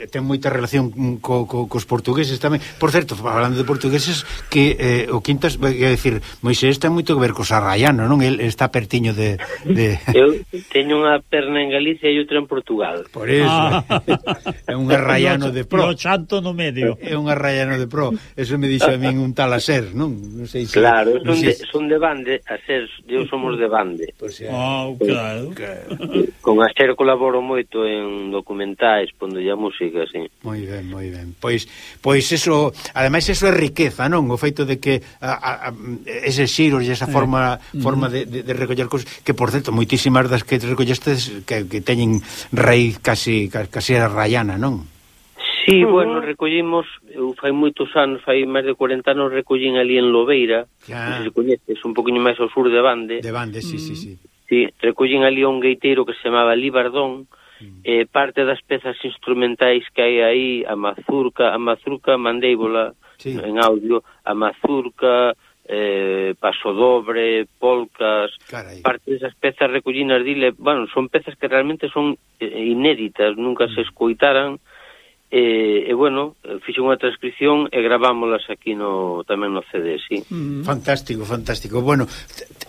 S3: Ten moita relación cos portugueses tamén. Por certo, falando de portugueses, que o Quintas, é dicir, Moisés ten moito que ver cos arraianos, non? El está pertiño de...
S17: Eu teño unha perna en Galicia e outra en Portugal.
S3: Por eso. É un arraiano de pro.
S2: E o chanto no medio.
S3: É un arraiano de pro. Eso me dixo a min un tal Aser, non? Non sei se...
S17: Claro, son de bande, Aser, eu somos de bande.
S2: Claro.
S17: Con Aser colaboro moito en documentais, pondolle a música, sí.
S3: Moi ben. Pois eso, ademais eso é riqueza, non? O feito de que eses xiros e esa forma de recoller cousas, que por certo, moitísimas das que recollestes que teñen raíz casi raiana, non?
S17: Sí, recollimos, eu fai moitos anos, fai máis de 40 anos recollín ali en Lobeira, non se coñeces, un poquinho máis ao sur de Bande.
S3: De Bande, sí.
S17: Sí, recollín ali un gaiteiro que se chamaba Libardón, parte das pezas instrumentais que hai aí, a mazurca, mandéibola, en audio, a mazurca, pasodobre, polcas, parte desas pezas recollinas dile, son pezas que realmente son inéditas, nunca se escoitaran, fixo unha transcripción e gravámolas aquí tamén no CD, sí.
S3: Fantástico. Bueno,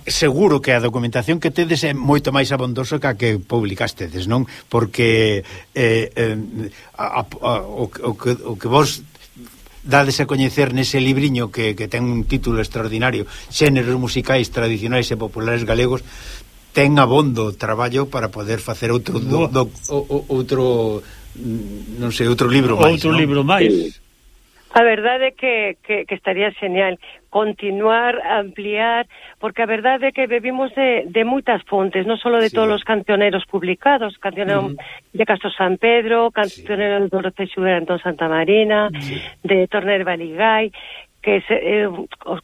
S3: seguro que a documentación que tedes é moito máis abondosa que a que publicastedes, non? Porque o que vos dades a coñecer nese libriño que ten un título extraordinario, Xéneros musicais tradicionais e populares galegos, ten abondo traballo para poder facer outro non sei, outro libro máis.
S2: Outro libro máis.
S18: A verdade é que estaría genial continuar, ampliar, porque a verdade é que bebimos de moitas fontes, non só de todos os cancioneros publicados, cancionero de Castro San Pedro, cancionero de Dorote Xuguera Antón Santa Marina, de Torner Baligay, que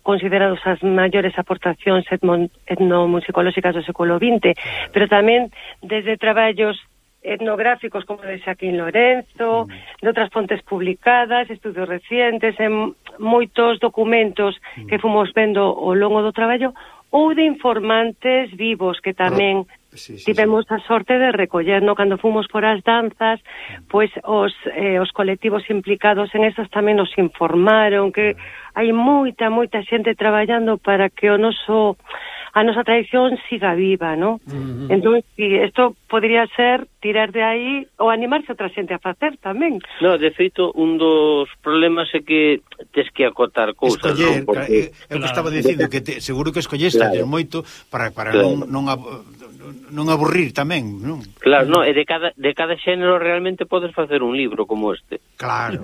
S18: considerados as maiores aportacións etnomusicolóxicas do século XX, pero tamén desde traballos etnográficos como de Xaquín Lorenzo, de outras fontes publicadas, estudios recientes, en moitos documentos que fomos vendo ao longo do traballo, ou de informantes vivos que tamén tivemos a sorte de recoller, no? Cando fomos por as danzas, pois os colectivos implicados en esas tamén nos informaron que hai moita xente traballando para que a nosa tradición siga viva, ¿no? Entón, isto podría ser tirar de aí ou animarse outra xente a facer tamén.
S17: No, de feito, un dos problemas é que tes que acotar cousas,
S3: escoller,
S17: non? Porque,
S3: eu estaba dicindo que seguro que escolleste moito para non aburrir tamén, non?
S17: Claro, no, e de cada xénero realmente podes facer un libro como este.
S3: Claro.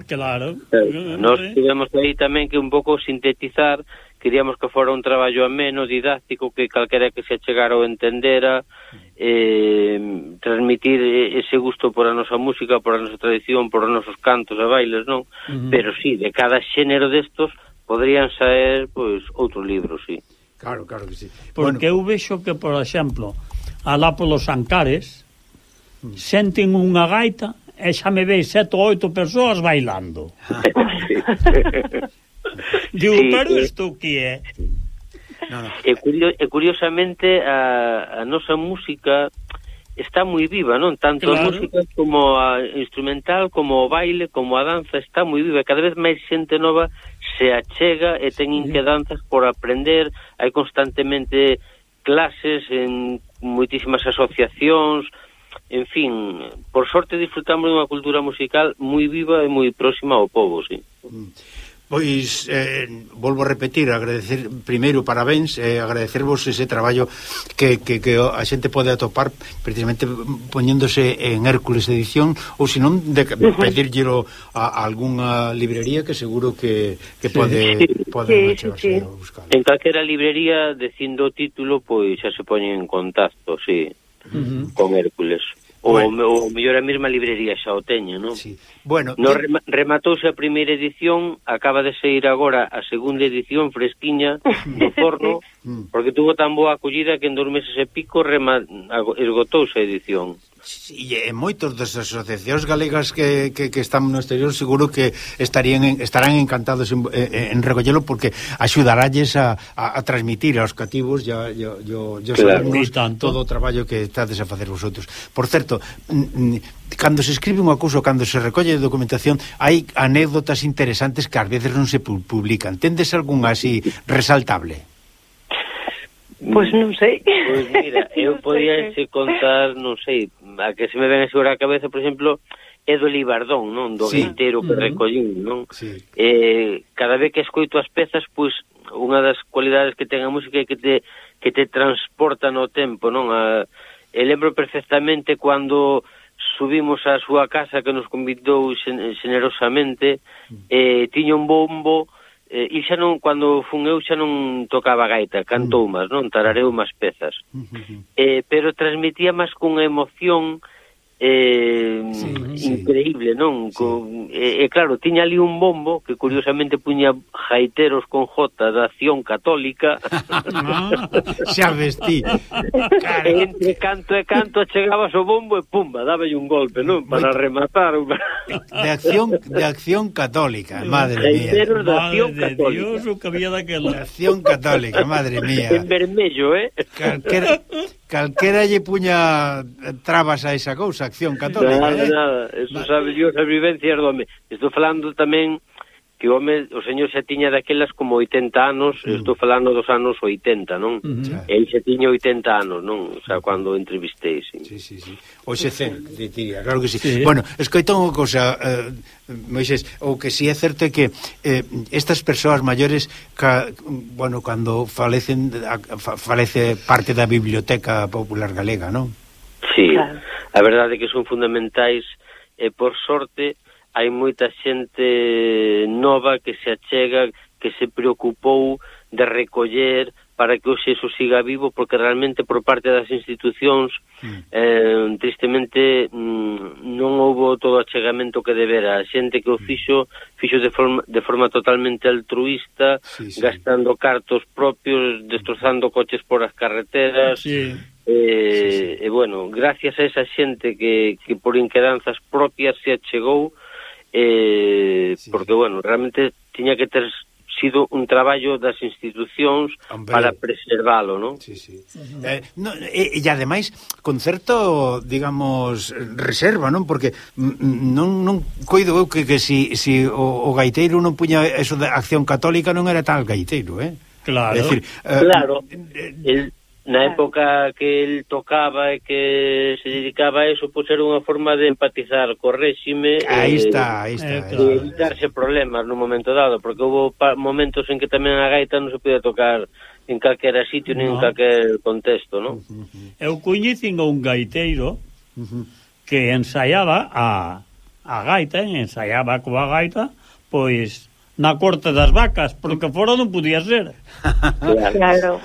S17: Nos tivemos aí tamén que un pouco sintetizar, queríamos que fora un traballo ameno, didáctico, que calquera que se achegara ou entendera, transmitir ese gusto por a nosa música, por a nosa tradición, por os nosos cantos e bailes, non? Pero sí, de cada xénero destos podrían saer, pois, outro libro, sí.
S3: Claro que sí.
S2: Porque eu vexo que, por exemplo, alá polos Ancares, senten unha gaita e xa me veis 7 ou 8 persoas bailando. Digo, pero isto que é?
S17: E curiosamente a nosa música está moi viva, non? Tanto a música como a instrumental, como o baile, como a danza está moi viva. Cada vez máis xente nova se achega e ten inquedanzas por aprender. Hai constantemente clases en moitísimas asociacións. En fin, por sorte disfrutamos dunha cultura musical moi viva e moi próxima ao povo, sí.
S3: Pois, volvo a repetir, agradecer primeiro, parabéns, agradecervos ese traballo que a xente pode atopar precisamente poñéndose en Hércules Edición, ou senón de pedírllelo a algunha librería que seguro que pode achegarse a buscar.
S17: En calquera librería, dicindo o título, pois xa se poñen en contacto, sí, con Hércules. Ou mellor a mesma librería xa o teño, non?
S3: Sí. Bueno,
S17: rematouse a primeira edición, acaba de sair agora a segunda edición fresquiña do forno, porque tuvo tan boa acollida que en 2 meses e pico esgotouse a edición.
S3: E moitos das asociacións galegas que están no exterior seguro que estarán encantados en recollelo, porque axudaralles a transmitir aos cativos todo o traballo que estades a facer vosotros. Por certo, cando se escribe unha cousa, cando se recolle documentación, hai anécdotas interesantes que ás veces non se publican. Tendes algunha así resaltable?
S18: Pois non sei.
S17: Pois mira, eu podía contar, non sei, a que se me ven sobre a cabeza, por exemplo, é do Libardón, non? Do gaiteiro que recollín, non? Cada vez que escoito as pezas, pois, unha das cualidades que ten a música é que te transporta no tempo, non? E lembro perfectamente cando subimos á súa casa, que nos convidou generosamente, tiña un bombo. E xa non, cando fun eu xa non tocaba gaita, cantou máis, non? Tarareu máis pezas. Pero transmitía máis cunha emoción increíble, non? Claro, tiña ali un bombo que curiosamente puña gaiteros con J da Acción Católica.
S3: Xa vestí.
S17: Entre canto e canto chegabas o bombo e pumba, dáballe un golpe, non? Para rematar.
S3: De Acción Católica, madre mía.
S17: Gaiteros da Acción Católica.
S2: Dios, o que había daquela.
S3: De Acción Católica, madre mía.
S17: En vermello,
S3: Calquera lle puña trabas a esa cousa, Acción Católica.
S17: Nada, eso sabe Dios as vivencias do home. Estou falando tamén que o señor xa tiña daquelas como 80 anos, estou falando dos anos 80, non? El xa tiña 80 anos, non? O sea, cando entrevistei, sí.
S3: Sí. Oxe 100, diría, claro que sí. Bueno, escoita unha cosa, Moisés, o que si é certo é que estas persoas maiores, bueno, cando falecen, falece parte da Biblioteca Popular Galega, non?
S17: Sí, a verdade é que son fundamentais, e por sorte hai moita xente nova que se achega, que se preocupou de recoller para que hoxe eso siga vivo, porque realmente por parte das institucións tristemente non houbo todo o achegamento que debera. A xente que o fixo de forma totalmente altruista, gastando cartos propios, destrozando coches por as carreteras. E bueno, gracias a esa xente que por inquedanzas propias se achegou, porque bueno, realmente tiña que ter sido un traballo das institucións para preservalo, non?
S3: E ademais con certo, digamos, reserva, non? Porque non coido eu que si o gaiteiro non puña eso de Acción Católica, non era tal gaiteiro,
S17: Claro, claro. Na época que el tocaba e que se dedicaba a eso, pois era unha forma de empatizar co réxime,
S3: aí está,
S17: e evitarse problemas no momento dado, porque houve momentos en que tamén a gaita non se podía tocar en calquera sitio nin en calquer contexto, non?
S2: Eu coñecín a un gaiteiro que ensaiaba a gaita, ensaiaba coa gaita, pois na corte das vacas, porque fora non podía ser.
S18: Claro.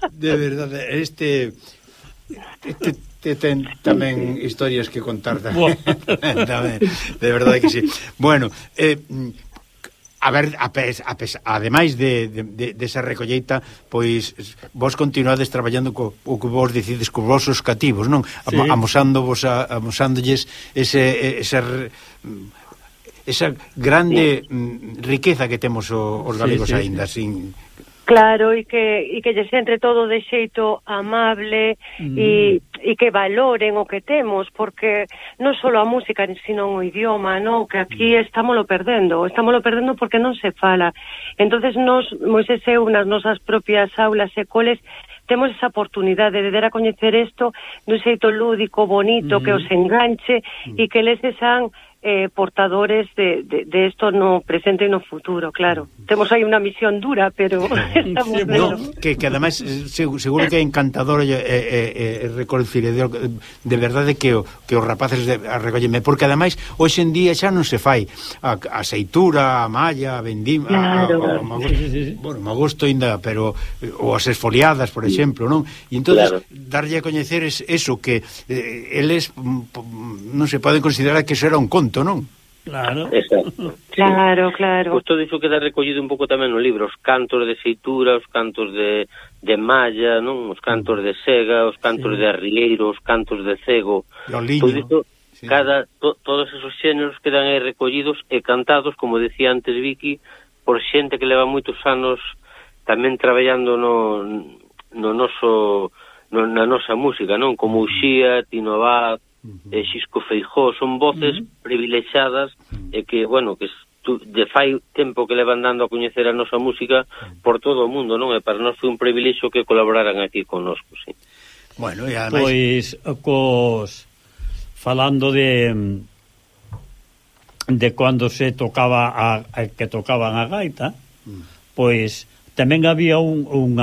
S3: De verdade, este ten tamén historias que contar tamén. De verdade que sí. Bueno, a ver, ademais desa recolleita, pois vos continuades traballando o que vos decides cos vosos cativos, non? Amosándolles esa grande riqueza que temos os galegos aínda, sin...
S18: Claro, e que lles entre todo de xeito amable e que valoren o que temos, porque non só a música, sino o idioma, non? Que aquí estámoslo perdendo porque non se fala. Entonces nos, Moisés e eu, nas nosas propias aulas e coles, temos esa oportunidade de dar a coñecer isto dun xeito lúdico, bonito, que os enganche e que les sean portadores de esto no presente e no futuro, claro. Temos aí unha misión dura, pero estamos
S3: que ademais seguro que é encantador recolecir de verdade que os rapaces recolleme, porque ademais hoxe en día xa non se fai a seitura, a malla, a vendima, bueno, magosto ainda, pero ou as esfoliadas, por exemplo, non? E entonces darlle a coñecer eso que eles non se poden considerar que eso era un conto, non?
S2: Claro.
S17: Exacto.
S18: Claro.
S17: Pois todo iso queda recollido un pouco tamén no libro, os cantos de seitura, os cantos de malla, non? Os cantos de sega, os cantos de arrieiro, os cantos de cego. Todo iso, todos esos xéneros quedan aí recollidos e cantados, como decía antes Vicky, por xente que leva moitos anos tamén traballando na nosa música, non? Como Uxía, Tino Abad, Xisco Feijó, son voces privilexiadas e que, bueno, que de fai tempo que levan dando a coñecer a nosa música por todo o mundo, non? E para nós foi un privilexio que colaboraran aquí connosco, sí.
S3: Bueno, e ademais...
S2: Pois, falando de cando se tocaba que tocaban a gaita, pois tamén había un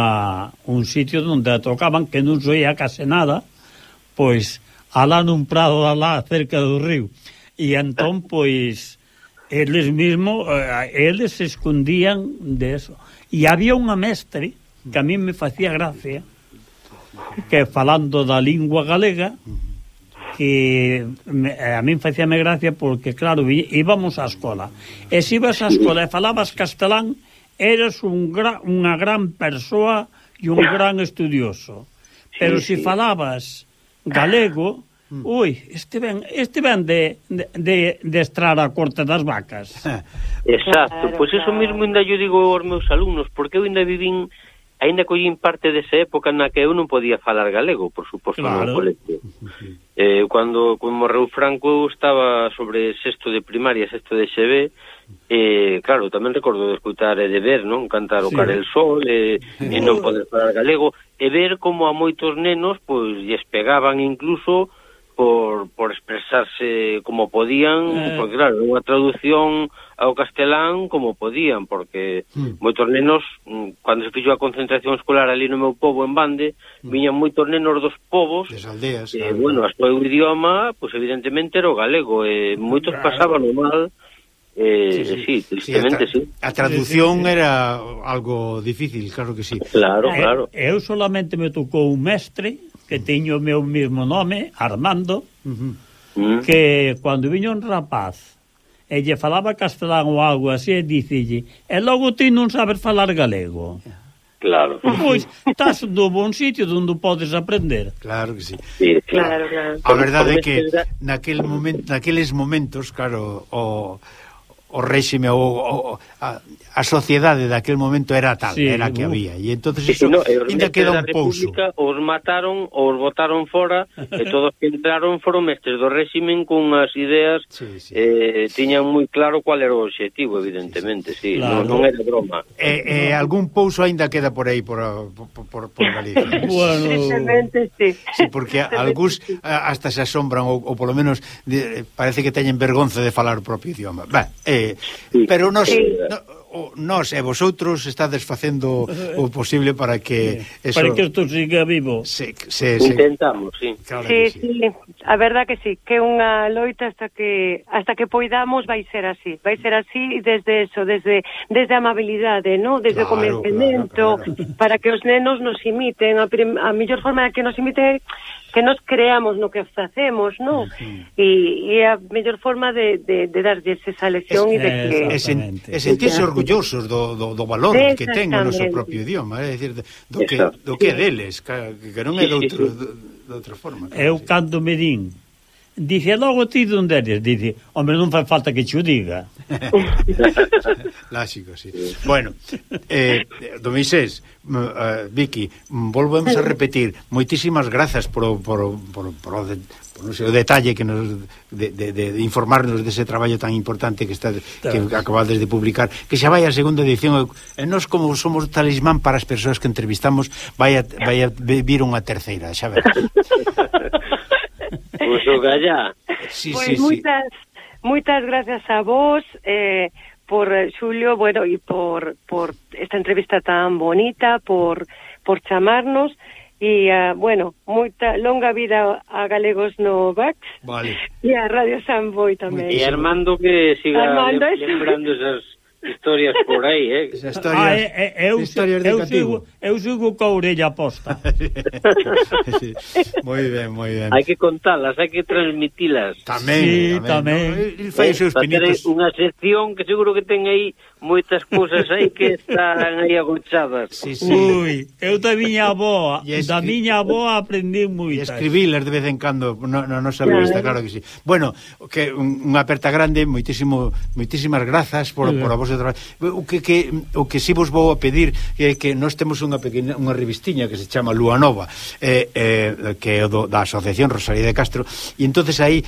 S2: sitio onde a tocaban que non soía case nada, pois alá nun prado alá cerca do río, e entón pois eles mismos eles se escondían de eso, e había unha mestre que a mí me facía gracia, que falando da lingua galega, que a mí facíame gracia porque claro, íbamos á escola, e se ibas á escola e falabas castelán, eres unha gran persoa e un gran estudioso, pero se falabas galego, este ven de estrar a corte das vacas.
S17: Exacto, pois iso mesmo ainda yo digo aos meus alumnos, porque eu ainda vivín, ainda collín parte desa época na que eu non podía falar galego, por suposto, no colegio. Cando morreu Franco eu estaba sobre sexto de primaria, sexto de XB, claro, tamén recordo de escutar e de ver, non? Cantar o Cara el Sol e non poder falar galego, e ver como a moitos nenos pois lles pegaban incluso por expresarse como podían, porque claro, unha traducción ao castelán como podían, porque moitos nenos, cando se fixo a concentración escolar ali no meu pobo en Bande, viñan moitos nenos dos povos,
S3: das aldeas,
S17: bueno, a seu idioma, pois evidentemente era o galego, e moitos pasaban o mal. Sí, tristemente, sí.
S3: A traducción era algo difícil, claro que sí.
S17: Claro, claro.
S2: Eu solamente me tocou un mestre que teño o meu mesmo nome, Armando, que cando viña un rapaz e lle falaba castelán ou algo así, e dicille, e logo ti non sabes falar galego.
S17: Claro.
S2: Pois, estás no bon sitio onde podes aprender.
S3: Claro que sí.
S18: Claro.
S3: A verdade é que naqueles momentos, claro, o réxime a sociedade daquel momento era tal, era que había, e entonces eso ainda queda un pouso.
S17: Os mataron, os botaron fora, e todos que entraron foron mestres do réximen con as ideas, tiñan moi claro cual era o obxectivo, evidentemente, non era broma.
S3: E algún pouso ainda queda por aí, por Galicia.
S18: Tristemente, sí.
S3: Sí, porque algúns hasta se asombran, ou polo menos parece que teñen vergonza de falar o propio idioma. Pero nós e vosotros estades facendo o posible para que eso...
S2: Para que isto siga vivo.
S17: Intentamos, sí.
S3: Claro
S18: sí, a verdad que sí, que unha loita hasta que poidamos vai ser así desde eso, desde a amabilidade, ¿no? Desde o convencemento, para que os nenos nos imiten, a mellor forma de que nos imiten que nos creamos no que facemos, ¿no? E a mellor forma de darlles esa lección e de que...
S3: E sentirse orgullosos do valor que ten o noso propio idioma, é dicir, do que é deles, que non é de outra forma.
S2: Eu cando me din, dice, logo ti onde eres? Dice, hombre, non fai falta que che o diga.
S3: Láxico, sí. Bueno, do Moisés, Vicky, volvemos a repetir, moitísimas grazas por o detalle que nos de informarnos dese traballo tan importante que acabades de publicar, que xa vai a segunda edición, e nós como somos talismán para as persoas que entrevistamos, vai a vir unha terceira, xa verás.
S17: Pois o gallá.
S18: Moitas gracias a vos, por Xulio, bueno, e por esta entrevista tan bonita, por chamarnos, e, bueno, moita longa vida a Galegos no VAX, e a Radio Samboy tamén.
S17: E Armando que siga lembrando esas historias por aí,
S3: Esas historias de cativo.
S2: Eu sigo coa orella posta.
S3: Moi ben.
S17: Hai que contalas, hai que transmitilas.
S3: Tamén. El fai os seus pinitos.
S17: Unha sección que seguro que ten aí moitas cousas aí que están aí agochadas.
S2: Ui, eu da miña avoa aprendí moitas.
S3: E escribilas de vez en cando na nosa revista, claro que sí. Bueno, que unha aperta grande, moitísimas grazas por a vos de traballo. O que si vos vou a pedir é que nós temos unha revistiña que se chama Lúa Nova, que é da Asociación Rosalía de Castro, e entonces aí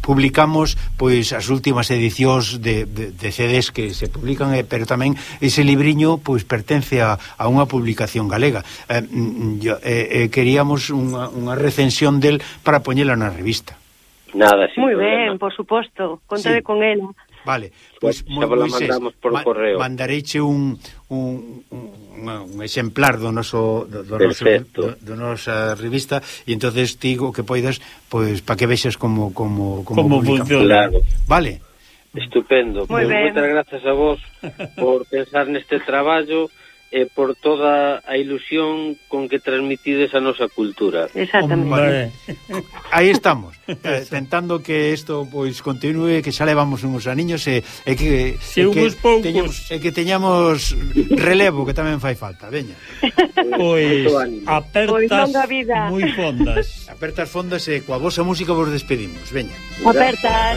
S3: publicamos pois as últimas edicións de CDs que se publican, pero tamén ese libriño pois pertence a unha publicación galega. Queríamos unha recensión del para poñela na revista.
S17: Nada,
S18: muy ben, por suposto, contade con ela.
S3: Vale, pois
S17: Moisés,
S3: mandareiche un exemplar do nosa revista, e entonces digo que poidas pois para que vexas como
S2: funciona.
S3: Vale.
S17: Estupendo. Moitas grazas a vos por pensar neste traballo e por toda a ilusión con que transmitides a nosa cultura.
S18: Exactamente.
S3: Aí estamos, tentando que isto pois continúe, que xa levamos uns aniños e que teñamos relevo, que tamén fai falta, veña.
S2: Pois apertas moi fondas.
S3: Apertas fondas e coa vosa música vos despedimos, veña.
S18: Apertas.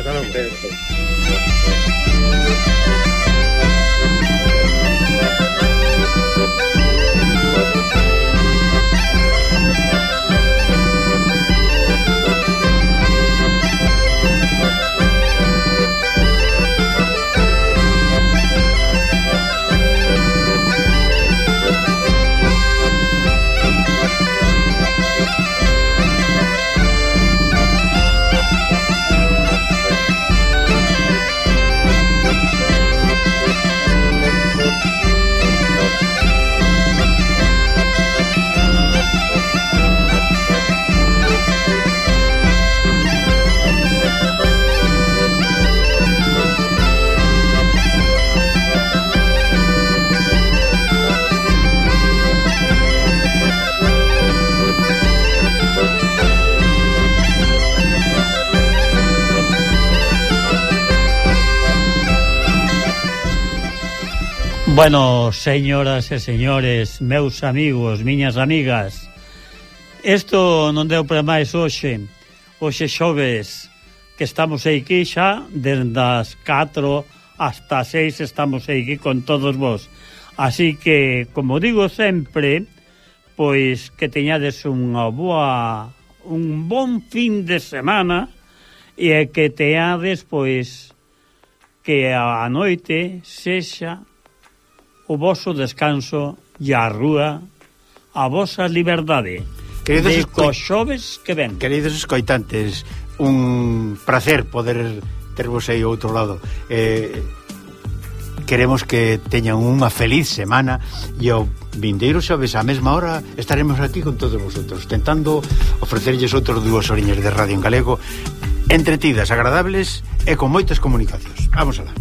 S2: Bueno, señoras e señores, meus amigos, miñas amigas, isto non deu para máis hoxe xoves, que estamos aquí xa desde as 4 hasta 6 estamos aquí con todos vos. Así que, como digo sempre, pois que teñades un bon fin de semana e que teades, pois, que a noite sexa o voso descanso e a rúa a vosa liberdade. De cos xoves que ven.
S3: Queridos escoitantes, un placer poder tervos aí ao outro lado. Queremos que teñan unha feliz semana e ao vindeiro xoves á mesma hora estaremos aquí con todos vosotros, tentando ofrecerlles outros 2 horiñas de radio en galego, entretidas, agradables e con moitas comunicacións. Vamos alá.